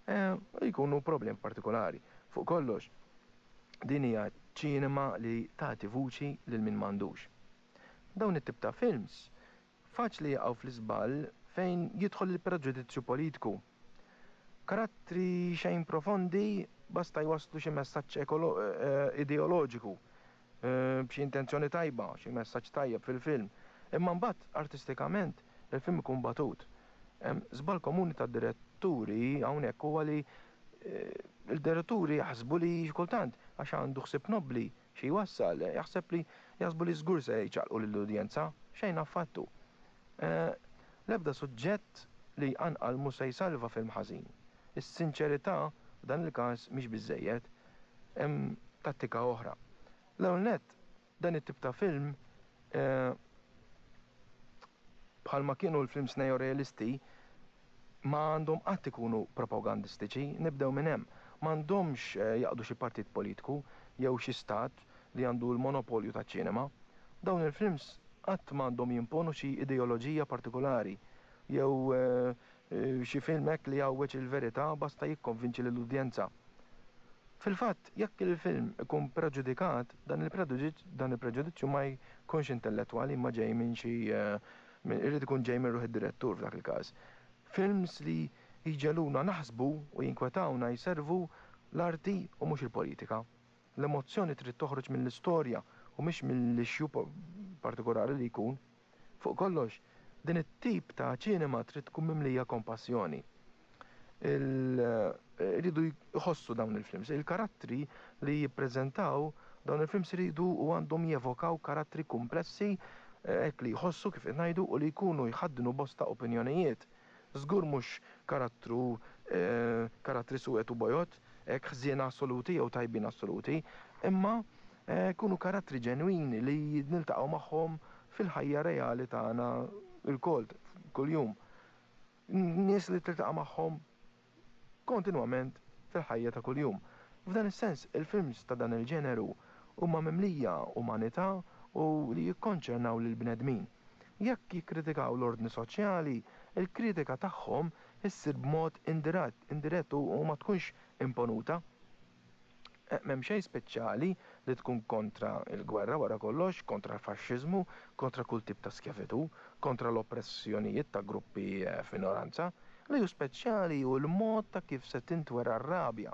eh, jkunu problem partikolari. Fuq kollox, din hija ċinema li tagħti vuċi lil min m'għandux. Dawn it-tip ta' films faċli jaqgħu fl-iżball fejn jidħol il-preġudizzju politiku. Karattri xejn profondi basta jwaslu xi messaġġ eh, ideoloġiku eh, b'xi intenzjoni tajba, xi messaġġ tajjeb fil-film. Imma mbagħad artistikament il-film ikun batut. Żball komuni tad-diretturi hawnhekk huwa li eh, il-diretturi jaħsbu li kultant għax għandu ħsieb nobli xi jwassal, jaħseb li jaħsbu li żgur se jċaqlqu lill-udjenza, xejn affattu. L-ebda suġġett li jqanqal mhu se jsalva film ħażin. Is-sinċerità f'dan il-każ mhix biżejjed, hemm tattika oħra. L-ewwel nett, dan it-tip ta' film, eh, bħalma kienu l-films neorealisti, ma għandhom qatt ikunu propagandistiċi, nibdew minn hemm. M'għandhomx eh, jaqdu xi partit politiku jew xi stat li għandu l-monopolju taċ-ċinema. Dawn il-films qatt m'għandhom jimponu xi ideoloġija partikolari jew eh, eh, xi film hekk li jgħawweġ il-verità basta jikkonvinċi lill-udjenza. Fil-fatt, jekk il-film ikun preġudikat, dan il-preġudizzju ma jkunx intellettwali imma ġej minn xi irid ikun ġej minn ruħ id-direttur f'dak il-każ. Films li jġegħluna naħsbu u jinkwetawna jservu l-arti u mhux il-politika. L-emozzjoni trid toħroġ mill-istorja u mhix mill-issue partikolari li jkun. Fuq kollox, din it-tip ta' ċinema trid tkun mimlija kompassjoni. Iridu jħossu dawn il-films. Il-karattri li jippreżentaw dawn il-films iridu u għandhom jevokaw karattri komplessi hekk li jħossu, kif ngħidu, u li jkunu jħaddnu bosta opinjonijiet. Żgur mhux karattru eh, karattri suwed u bojod, hekk ħżiena assoluti jew tajbin assoluti, imma eh, jkunu karattri ġenwini li niltaqgħu magħhom fil-ħajja reali tagħna lkoll kuljum. Nies li tiltaqa' magħhom kontinwament fil-ħajja ta' kuljum. F'dan is-sens, il-films ta' dan il-ġeneru huma mimlija umanità u li jikkonċernaw lill-bnedmin. Jekk jikkritikaw l-ordni soċjali, il-kritika tagħhom issir b'mod indirett, indirett u ma tkunx imponuta. Eh, m'hemm xejn speċjali li tkun kontra il-gwerra wara kollox, kontra l-faxxiżmu, kontra kull tip ta' skjavitù, kontra l-oppressjonijiet ta' gruppi eh, f'minoranza. Li hu speċjali hu l-mod ta' kif se tintwera r-rabja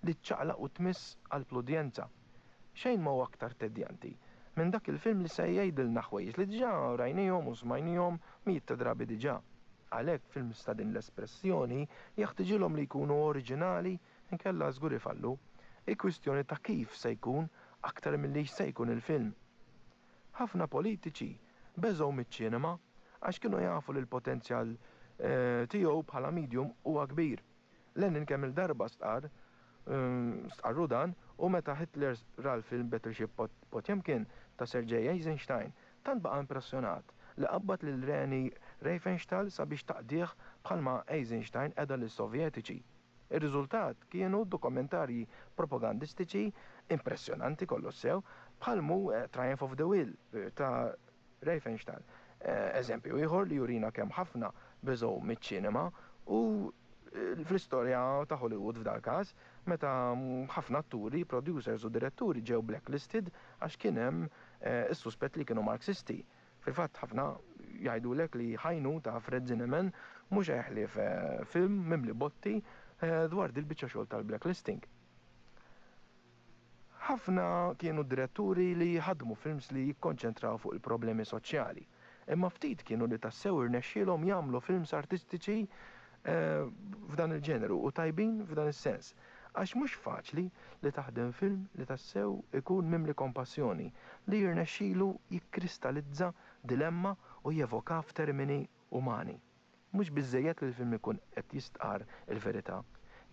li ċċaqlaq u tmiss għall-udjenza. Xejn ma hu aktar tedjanti minn dak il-film li se jgħidilna ħwejjeġ li diġà rajnihom u smajnihom mijiet ta' drabi diġà. Għalhekk films ta' din l-espressjoni jeħtiġilhom li jkunu oriġinali, inkella żgur ifallu. Il-kwistjoni ta' kif se jkun aktar milli se jkun il-film. Ħafna politiċi beżgħu miċ-ċinema għax kienu jafu li l-potenzjal eh, tiegħu bħala medium huwa kbir. Lenin kemm il-darba stqar eh, stqarru dan, u meta Hitler ra l-film Battleship Potemkin ta' Sergei Eisenstein, tant baqa' impressjonat li qabbad lil Reni Riefenstahl sabiex taqdih bħalma Eisenstein qeda lis-Sovjetiċi. Ir-riżultat kienu dokumentarji propagandistiċi impressjonanti kollox sew bħal mhu Triumph of the Will ta' Riefenstahl. Eżempju ieħor li jurina kemm ħafna beżgħu miċ-ċinema u fl-istorja ta' Hollywood f'dal każ, meta ħafna atturi, producers u diretturi ġew blacklisted għax kien hemm is-suspett li kienu Marxisti. Fil-fatt ħafna jgħidulek li High Noon ta' Fred Zinnemann mhux ħlief film mimli botti dwar dil-biċċa xogħol tal-blacklisting. Ħafna kienu diretturi li ħadmu films li jikkonċentraw fuq il-problemi soċjali, imma ftit kienu li tassew irnexxielhom jagħmlu films artistiċi f'dan il-ġeneru u tajbin f'dan is-sens. Għax mhux faċli li taħdem film li tassew ikun mimli kompassjoni, li jirnexxielu jikkristallizza dilemma u jevoka f'termini umani. Mhux biżżejjed li l-film ikun qed jistqar il-verità,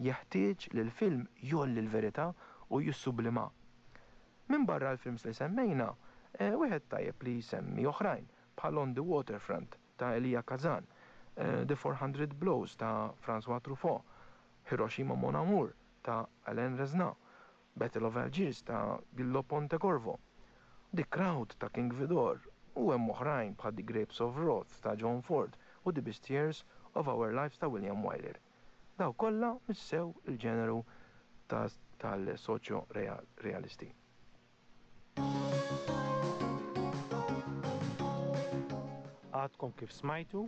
jeħtieġ li l-film jgħolli l-verità u jissublima. Min barra l-films li semmejna, wieħed tajjeb li jsemmi oħrajn bħal On the Waterfront ta' Elia Kazan, The four hundred Blows ta' François Truffaut, Hiroshima Mon Amour ta' Alain Resnais, Battle of Algiers ta' Gillo Pontecorvo, The Crowd ta' King Vidor, u hemm oħrajn bħal The Grapes of Wrath ta' John Ford u The Best Years of Our Lives ta' William Wyler. Daw kollha missew il-ġeneru tal-soċjo realisti. Għadkom kif smajtu?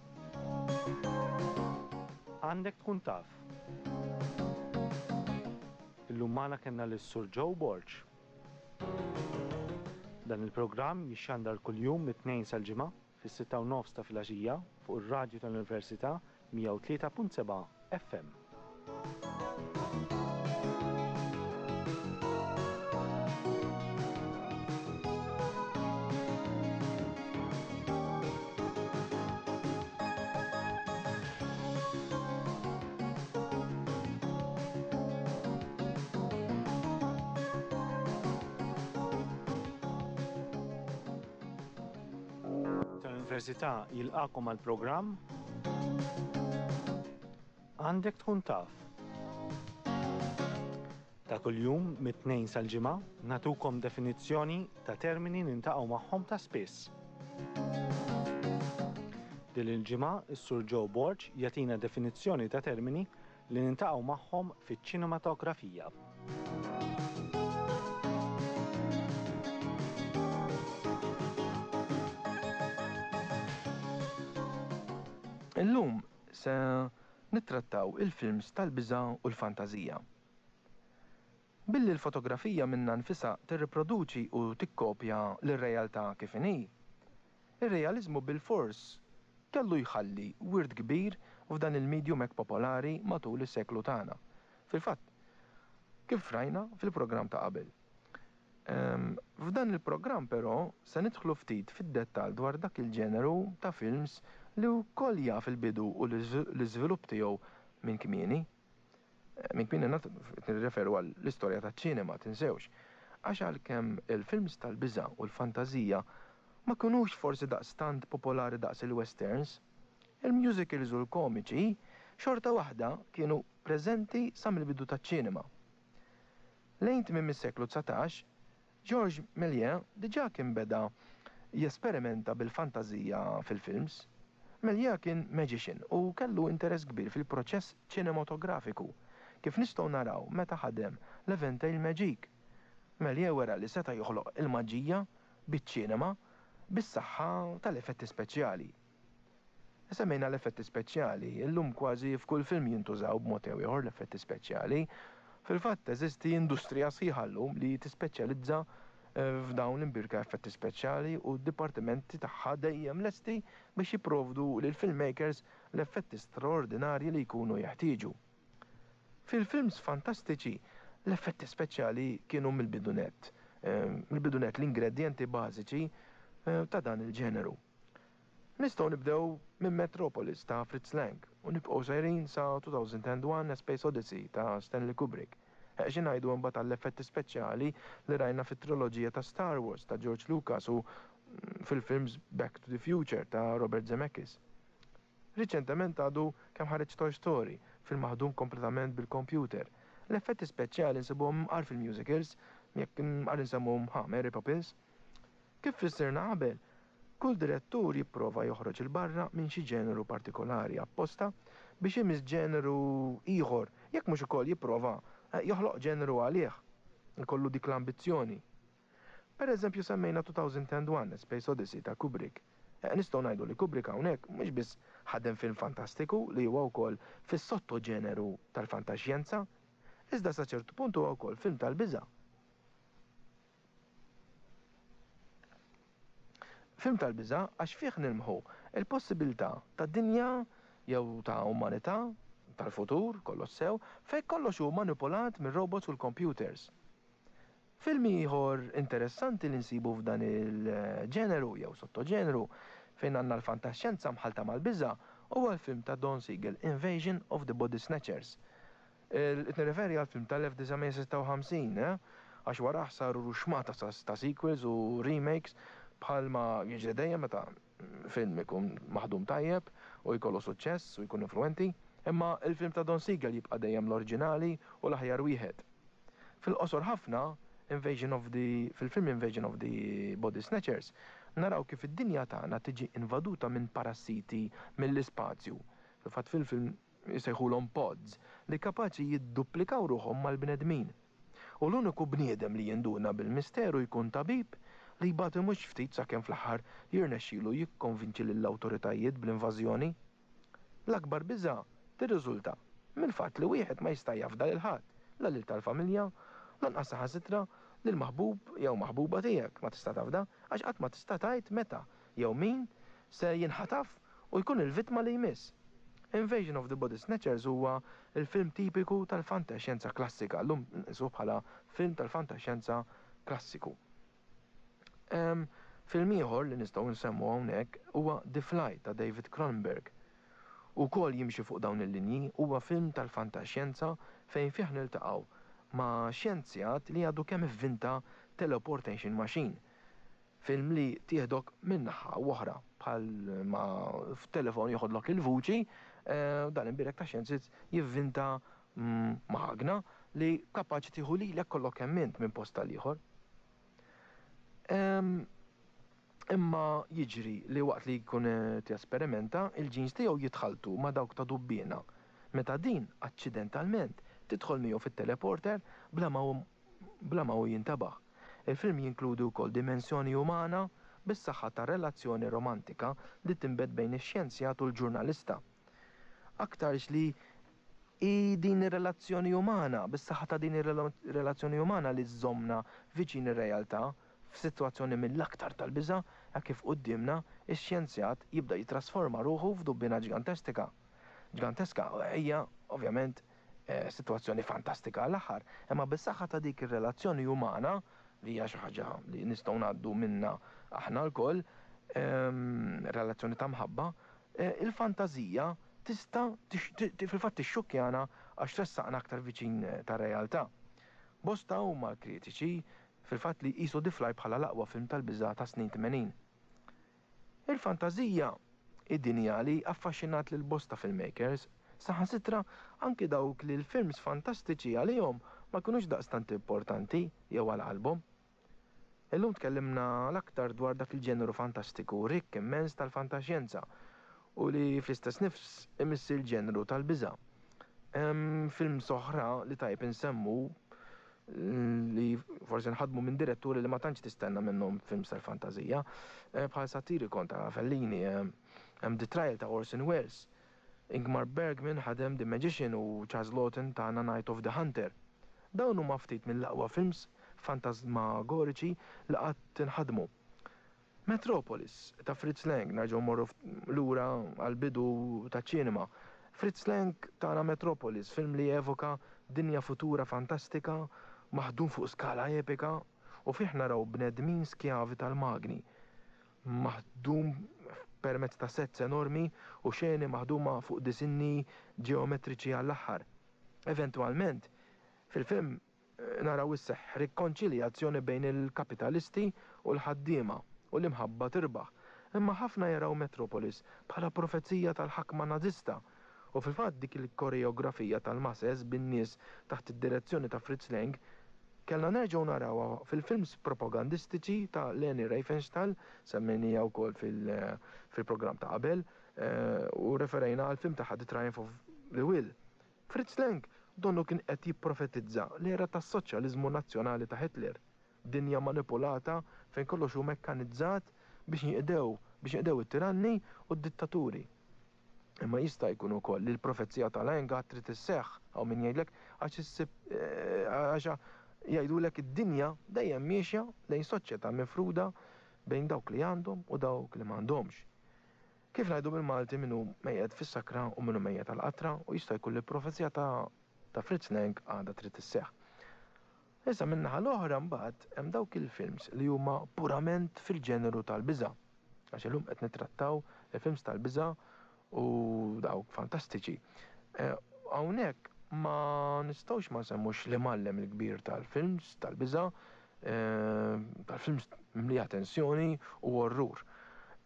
Għandek tkun taf. Illum magħna kellna lis-Sur Joe Borg. Dan il-programm jixxandar kuljum mit-tnejn sal-ġimgħa fis-sitta u nofs ta' filgħaxija fuq ir-radju tal-Università mija u tlieta punt seba' F M. Tal-Università jilqakom għal programm Għandek tkun taf. Ta' kuljum mit-tnejn sal-ġimgħa natukom definizzjoni ta' termini nintaqgħu magħhom ta' spiss. Din il-ġimgħa is-Sur Joe Borg jagħtina definizzjoni ta' termini li nintaqgħu magħhom fiċ-ċinematografija. Illum se nittrattaw il-films tal-biża' u l-fantażija. Billi l-fotografija minnha nfisha tirriproduċi u tikkopja lir-realtà kif inhi, ir-realiżmu bilfors kellu jħalli wirt kbir f'dan il-medium hekk popolari matul is-seklu tagħna. Fil-fatt, kif rajna fil-programm ta' qabel. Ehm, f'dan il-programm però se nidħlu ftit fid-dettall dwar dak il-ġeneru ta' films li wkoll jaf il-bidu u l-iżvilupp tiegħu minn kmieni. Minn kmieni nirreferu għall-istorja taċ-ċinema, tinsewx. Għax għalkemm il-films tal-biża' u l-fantażija ma kinux forsi daqstant popolari daqs il-westerns, il-musicals u l-komiċi xorta waħda kienu preżenti sa mill-bidu taċ-ċinema. Lejn tmiem is-seklu dsatax, Georges Méliès diġà kien beda jesperimenta bil-fantażija fil-films. Méliès kien magician u kellu interess kbir fil-proċess ċinematografiku, kif nistgħu naraw meta ħadem l-Eventail Magique. Méliès wera li seta' joħloq il-maġija biċ-ċinema bis-saħħa tal-effetti speċjali. Semmejna l-effetti speċjali, illum kważi f'kull film jintużaw b'mod jew ieħor l-effetti speċjali. Fil-fatt teżisti industrija sħiħa llum li tispeċjalizza f'dawn l-imbirka effetti speċjali u d-dipartimenti tagħha dejjem lesti biex jipprovdu lil filmmakers l-effetti straordinarji li jkunu jeħtieġu. Fil-films fantastiċi l-effetti speċjali kienu mill-bidunet, mill-bidunet l-ingredjenti bażiċi ta' dan il-ġeneru. Nistgħu nibdew minn Metropolis ta' Fritz Lang u nibqgħu sejrin sa two thousand and one A Space Odyssey ta' Stanley Kubrick. Xi ngħidu mbagħad għall-effetti speċjali li rajna fit-triloġija ta' Star Wars ta' George Lucas u fil-films Back to the Future ta' Robert Zemeckis. Riċentement għadu kemm ħareġ Toy Story, film maħdum kompletament bil-kompjuter. L-effetti speċjali nsibuhom mqar fil-musicals, jekk mqar insemmuhom ha, Mary Poppins. Kif fissirna qabel, kull direttur jipprova joħroġ 'il barra minn xi ġeneru partikolari apposta biex imiss ġeneru ieħor, jekk mhux ukoll jipprova joħloq ġeneru għalih, ikollu dik l-ambizzjoni. Per eżempju semmejna two thousand and one, A Space Odyssey ta' Kubrick. Nistgħu ngħidu li Kubrick hawnhekk mhux biss ħadem film fantastiku li huwa wkoll fis-sottoġeneru tal-fantaxjenza, iżda sa ċertu punt huwa wkoll film tal-biża'. Film tal-biża' għax fih nilmħu il-possibilità ta' dinja jew ta' umanità tal-futur, kollox sew, fejn kollox hu manipulat mir-robots u l-computers. Film ieħor interessanti li nsibu f'dan il-ġeneru jew sottoġeneru fejn għandna l-fantaxjenza mħalta mal-biża' huwa l-film ta' Don Siegel, Invasion of the Body Snatchers. Qed nirreferi għal film tal-elf disa' mija sitta u ħamsin, eh? Għax warah saru ruxmata ta' sequels u remakes bħalma jiġri dejjem meta film ikun maħdum tajjeb u jkollu suċċess u jkun influenti, imma il-film ta' Don Siegel jibqa' dejjem l-oriġinali u l-aħjar wieħed. Fil-qosor ħafna, Invasion of the, fil-film Invasion of the Body Snatchers, naraw kif id-dinja tagħna tiġi invaduta minn parassiti mill-ispazju. Fil-fatt fil-film jsejħulhom pods li kapaċi jidduplikaw ruħhom mal-bnedmin. U l-uniku bniedem li jinduna bil-misteru jkun tabib li jbati mhux ftit sakemm fl-aħħar jirnexxilu jikkonvinċi lill-awtoritajiet bl-invażjoni. L-akbar biża' tirriżulta mill-fatt li wieħed ma jista' jafda lil ħadd, la lil tal-familja, lanqas saħansitra lil maħbub jew maħbuba tiegħek ma tista' tafda, għax qatt ma tista' tgħid meta jew min se jinħataf u jkun il-vittma li jmiss. Invasion of the Body Snatchers huwa il-film tipiku tal-fantaxjenza klassika, llum nqisuh bħala film tal-fantaxjenza klassiku. Em, film ieħor li nistgħu nsemmu hawnhekk huwa The Fly ta' David Cronenberg. Ukoll jimxi fuq dawn il-linji, huwa film tal-fantaxjenza fejn fih niltaqgħu ma' xjenzjat li għadu kemm ivvinta teleportation machine. Film li tieħdok minn naħa u oħra, bħal ma f'telefon joħodlok il-vuċi, eh, dan imbierek ta' xjenzit jivvinta, mm, magna li kapaċi tieħu lilek kollok kemm int minn post tal-ieħor. Em, imma jiġri li waqt li jkun qed jesperimenta, il-ġins tiegħu jitħaltu ma' dawk ta' dubbiena. Meta din aċċidentalment tidħol miegħu fit-teleporter bla ma hu, bla ma hu jintabaħ. Il-film jinkludi wkoll dimensjoni umana bis-saħħa ta' relazzjoni romantika li tinbet bejn ix-xjenzjat u l-ġurnalista. Aktarx li hi din ir-relazzjoni umana, bis-saħħa ta' din ir-relazzjoni umana li żżommna viċin ir-realtà f'sitwazzjoni mill-aktar tal-biża' hekk kif quddiemna ix-xjenzjat jibda jitrasforma ruħu f'dubbina ġigantestika. Ġiganteska hija ovvjament, eh, sitwazzjoni fantastika għall-aħħar, imma bis-saħħa ta' dik ir-relazzjoni umana li hija xi ħaġa li nistgħu ngħaddu minna aħna lkoll, ehm, relazzjoni ta' mħabba, eh, il-fantażija tista' tix-, ti-, ti-, fil-fatt tixxukkjana għax tressaqna aktar viċin, eh, tar-realtà. Bosta huma l-kritiċi fil-fatt li jqisu The Fly bħala l-aqwa film tal-biża' ta' snin tmenin. Il-fantażija id-dinja li affaxxinat lil bosta filmmakers, saħansitra anki dawk li l-films fantastiċi għalihom ma kinux daqstant importanti jew għal qalbhom. Illum tkellimna l-aktar dwar dak il-ġeneru fantastiku rikk immens tal-fantaxjenza u li fl-istess nifs imiss il-ġeneru tal-biża'. Hemm films oħra li tajb insemmu li forsi nħadmu minn diretturi li ma tantx tistenna minnhom films tal-fantażija, eh, bħal Satyricon ta' Fellini, eh, hemm The Trial ta' Orson Welles, Ingmar Bergman ħadem The Magician u Charles Laughton ta' Night of the Hunter. Dawn huma ftit mill-aqwa films fantasmagoriċi li qatt inħadmu. Metropolis ta' Fritz Lang, nerġgħu mmorru f-, lura għall-bidu taċ-ċinema. Fritz Lang tana Metropolis, film li evoka dinja futura fantastika, maħdum fuq skala epika, u fih naraw bnedmin skjavi tal-magni, maħdum permezz ta' sets enormi u xeni maħduma fuq disinni ġeometriċi għall-aħħar. Eventwalment, fil-film, eh, naraw isseħħ rikonċiljazzjoni bejn il-kapitalisti u l-ħaddiema u l-imħabba tirbaħ. Imma ħafna jaraw Metropolis bħala profezija tal-ħakma Nażista u fil-fatt dik il-koreografija tal-masses bin-nies taħt id-direzzjoni ta' Fritz Lang kellna nerġgħu narawha fil-films propagandistiċi ta' Leni Riefenstahl, semmejnija wkoll fil-programm ta' qabel, u referejna għal film tagħha The Triumph of the Will. Fritz Lang donnu kien qed jipprofetizza l-era tas-soċjaliżmu nazzjonali ta' Hitler, dinja manipulata fejn kollox hu mekkanizzat biex jinqdew biex jinqdew it-tiranni u d-dittaturi. Imma jista' jkun ukoll li l-profezija ta' Lang għad trid isseħħ, hawn min jgħidlek għax issib għax jgħidulek id-dinja dejjem miexja lejn soċjetà mifruda bejn dawk li għandhom u dawk li m'għandhomx. Kif ngħidu bil-Malti min hu mejjet fis-sakra u min hu mejjet għall-qatra u jista' jkun li l-profezija ta' ta' Fritz Lang għadha trid isseħħ. Issa min-naħa l-oħra mbagħad hemm dawk il-films li huma purament fil-ġeneru tal-biża'. Għax illum qed nittrattaw il-films tal-biża' u dawk fantastiċi. Hawnhekk ma nistgħux ma nsemmux l-imgħallem il-kbir tal-films tal-biża', tal-films mimlija tensjoni u orrur.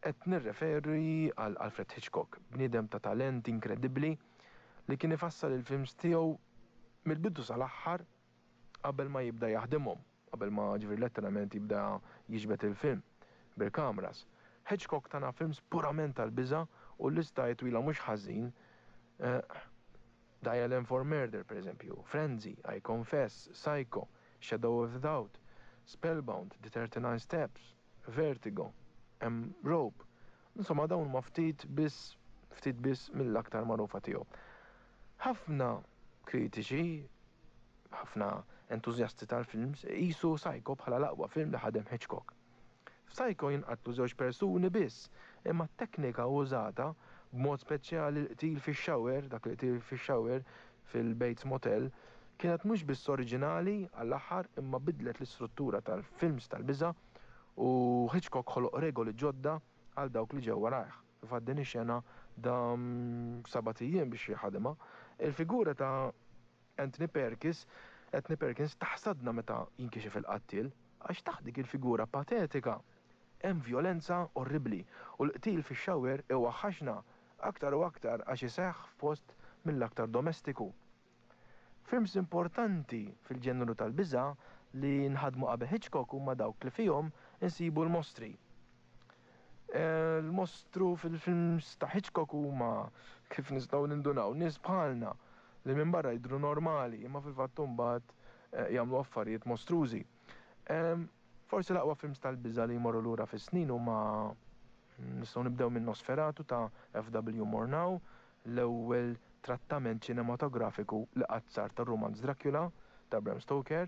Qed nirreferi għal Alfred Hitchcock, bniedem ta' talent inkredibbli li kien ifassal il-films tiegħu mill-bidu sal-aħħar qabel ma jibda jaħdimhom, qabel ma ġifieri letteralment jibda jiġbed il-film bil-kameras. Hitchcock tana films purament tal-biża' u l-lista hi twila mhux ħażin. Dial M for Murder, per eżempju, Frenzy, I Confess, Psycho, Shadow of a Doubt, Spellbound, The thirty-nine Steps, Vertigo, hemm Rope. Insomma dawn huma ftit biss ftit biss mill-aktar magħrufa tiegħu. Ħafna kritiċi, ħafna entużjasti tal-films iqisu Psycho bħala l-aqwa film li ħadem Hitchcock. F'Psycho jinqatlu żewġ persuni biss, imma t-teknika użata b'mod speċjali l-qtil fix-shower, dak il-qtil fix-shower fil-Bates Motel, kienet mhux biss oriġinali għall-aħħar imma bidlet l-istruttura tal-films tal-biża' u Hitchcock ħoloq regoli ġodda għal dawk li ġew warajh. Fil-fatt din ix-xena dam sebat ijiem biex jħadimha. Il-figura ta' Anthony Perkins, Anthony Perkins taħsadna meta jinkixef il-qattiel, għax taħt dik il-figura patetika hemm vjolenza orribbli u l-qtil fix-shower iwaħħaxna aktar u aktar għax iseħħ f'post mill-aktar domestiku. Films importanti fil-ġeneru tal-biża' li nħadmu qabel Hitchcock huma dawk li fihom insibu l-mostri. L-mostru fil-films ta' Hitchcock huma kif nistgħu nindunaw nies bħalna li minn barra jidhru normali imma fil-fatt imbagħad jagħmlu affarijiet mostrużi. Forsi l-aqwa films tal-biża' li jmorru lura fis-snin huma nistgħu nibdew minn Nosferatu ta' F W Murnau, l-ewwel trattament ċinematografiku li qatt sar tar-rumanz Dracula ta' Bram Stoker.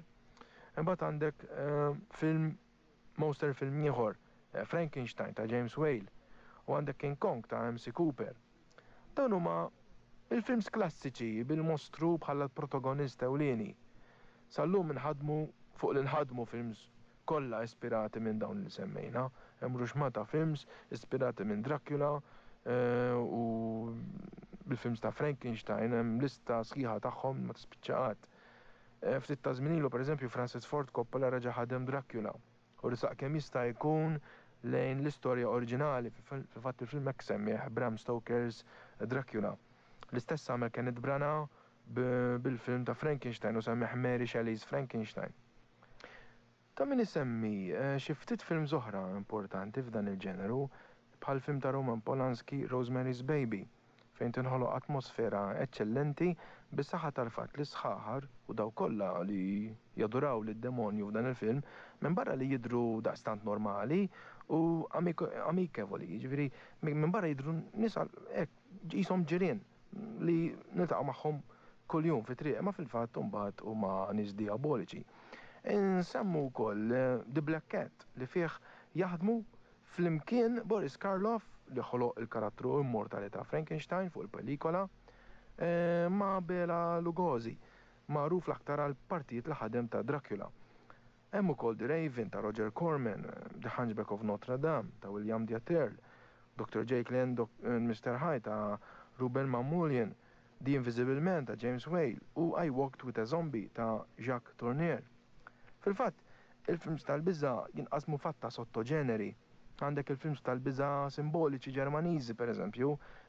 Imbagħad għandek film monster film ieħor, Frankenstein ta' James Whale, u għandek King Kong ta' M C Cooper. Dawn huma il-films klassiċi bil-mostru bħala l-protagonist ewlieni. Sal-lum inħadmu fuq li nħadmu films kollha ispirati minn dawn li semmejna. Hemm ruxmata films ispirati minn Dracula u bil-films ta' Frankenstein, hemm lista sħiħa tagħhom ma tispiċċa qatt. Ftit ta' żmien ilu pereżempju Francis Ford Coppola reġa' ħadem Dracula u risaq kemm jista' jkun lejn l-istorja oriġinali, fil-fatt il-film hekk semmih Bram Stoker's Dracula. L-istess għamel Kenneth Branagh bil-film ta' Frankenstein u semmih Mary Shelley's Frankenstein. Ta' min isemmi xi ftit films oħra importanti f'dan il-ġeneru bħal film ta' Roman Polanski Rosemary's Baby, fejn tinħoloq atmosfera eċċellenti bis-saħħa tal-fatt li sħaħar u daw kollha li jaduraw lid-demonju f'dan il-film minn barra li jidhru daqstant normali u amikevoli, jiġifieri minn barra jidhru nies hekk qishom ġirien li niltaqgħu magħhom kuljum fi triq, imma fil-fatt imbagħad huma nies diaboliċi. Insemmu wkoll The Black Cat li fih jaħdmu flimkien Boris Karloff li ħoloq il-karattru immortali ta' Frankenstein fuq il-pelikola ma' Bela Lugosi, magħruf l-aktar għal partijiet li ħadem ta' Dracula. Hemm ukoll The Raven ta' Roger Corman, The Hunchback of Notre Dame ta' William Dieterle, Doctor Jekyll and Mister Hyde ta' Rouben Mamoulian, The Invisible Man ta' James Whale u I Walked with a Zombie ta' Jacques Tourneur. Fil-fatt, il-films tal-biża' jinqasmu fatta sottoġeneri. Għandek il-films tal-biża' simboliċi Ġermaniżi, pereżempju,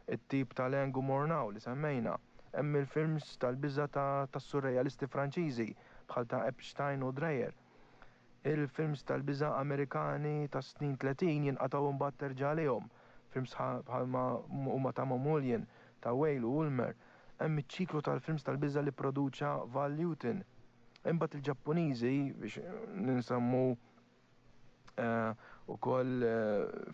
it-tip ta' Lang u Murnau li semmejna. Hemm il-films tal-biża' tas-surrealisti Franċiżi bħal ta' Epstein u Dreyer. Il-films tal-biża' Amerikani tas-snin tletin jinqatgħu imbagħad terġa' għalihom. Films bħalma huma ta' Mamoulian, ta' Whale u Ulmer. Hemm iċ-ċiklu tal-films tal-biża' li pproduċa Val Lewton. Imbagħad il-Ġappuniżi biex ninsemmu ukoll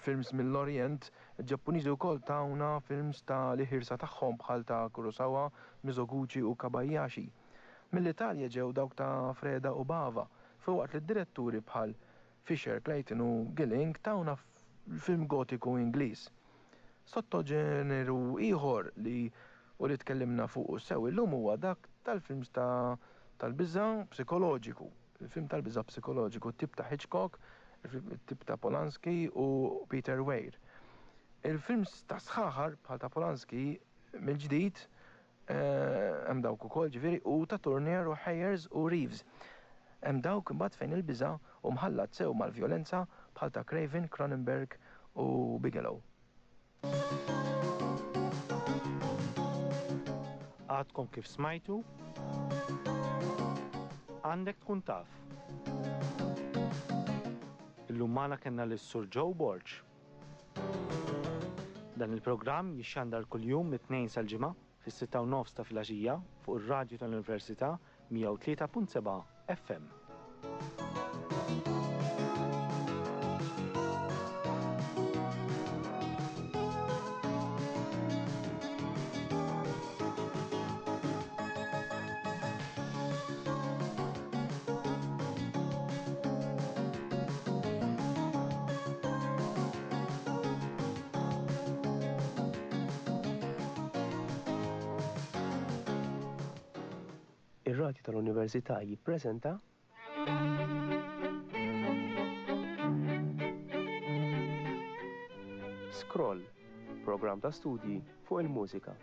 films mill-Orient, il-Ġappuniżi wkoll tawna films ta' l-iħirsa tagħhom bħal ta' Kurosawa, Mizoguchi u Kobayashi. Mill-Italja ġew dawk ta' Freda u Bava, filwaqt li d-diretturi bħal Fisher, Clayton u Gilling tawna film gotiku Ingliż. Sottoġeneru ieħor li u li tkellimna fuq sew illum huwa dak tal-films ta' tal-biża' psikoloġiku. Il-film tal-biża' psikoloġiku, tip ta' Hitchcock, tip ta' Polanski u Peter Weir. Il-films ta' sħaħar bħal ta' Polanski mill-ġdid hemm dawk ukoll ġifieri u ta' Tourneur u Hayers u Reeves. Hemm dawk imbagħad fejn il-biża' u mħallat sew mal-vjolenza bħal ta' Craven, Cronenberg u Bigelow. Għadkom kif smajtu? Għandek tkun taf. Illum magħna kellna lis-Sur Joe Borg. Dan il-programm jixxandar kuljum mit-tnejn sal-ġimgħa fis-sitta u nofs ta' filgħaxija fuq ir-radju tal-Università mija u tlieta punt seba' F M. Ir-Radju tal-Università jippreżenta Scroll, programm ta' studji fuq il-mużika.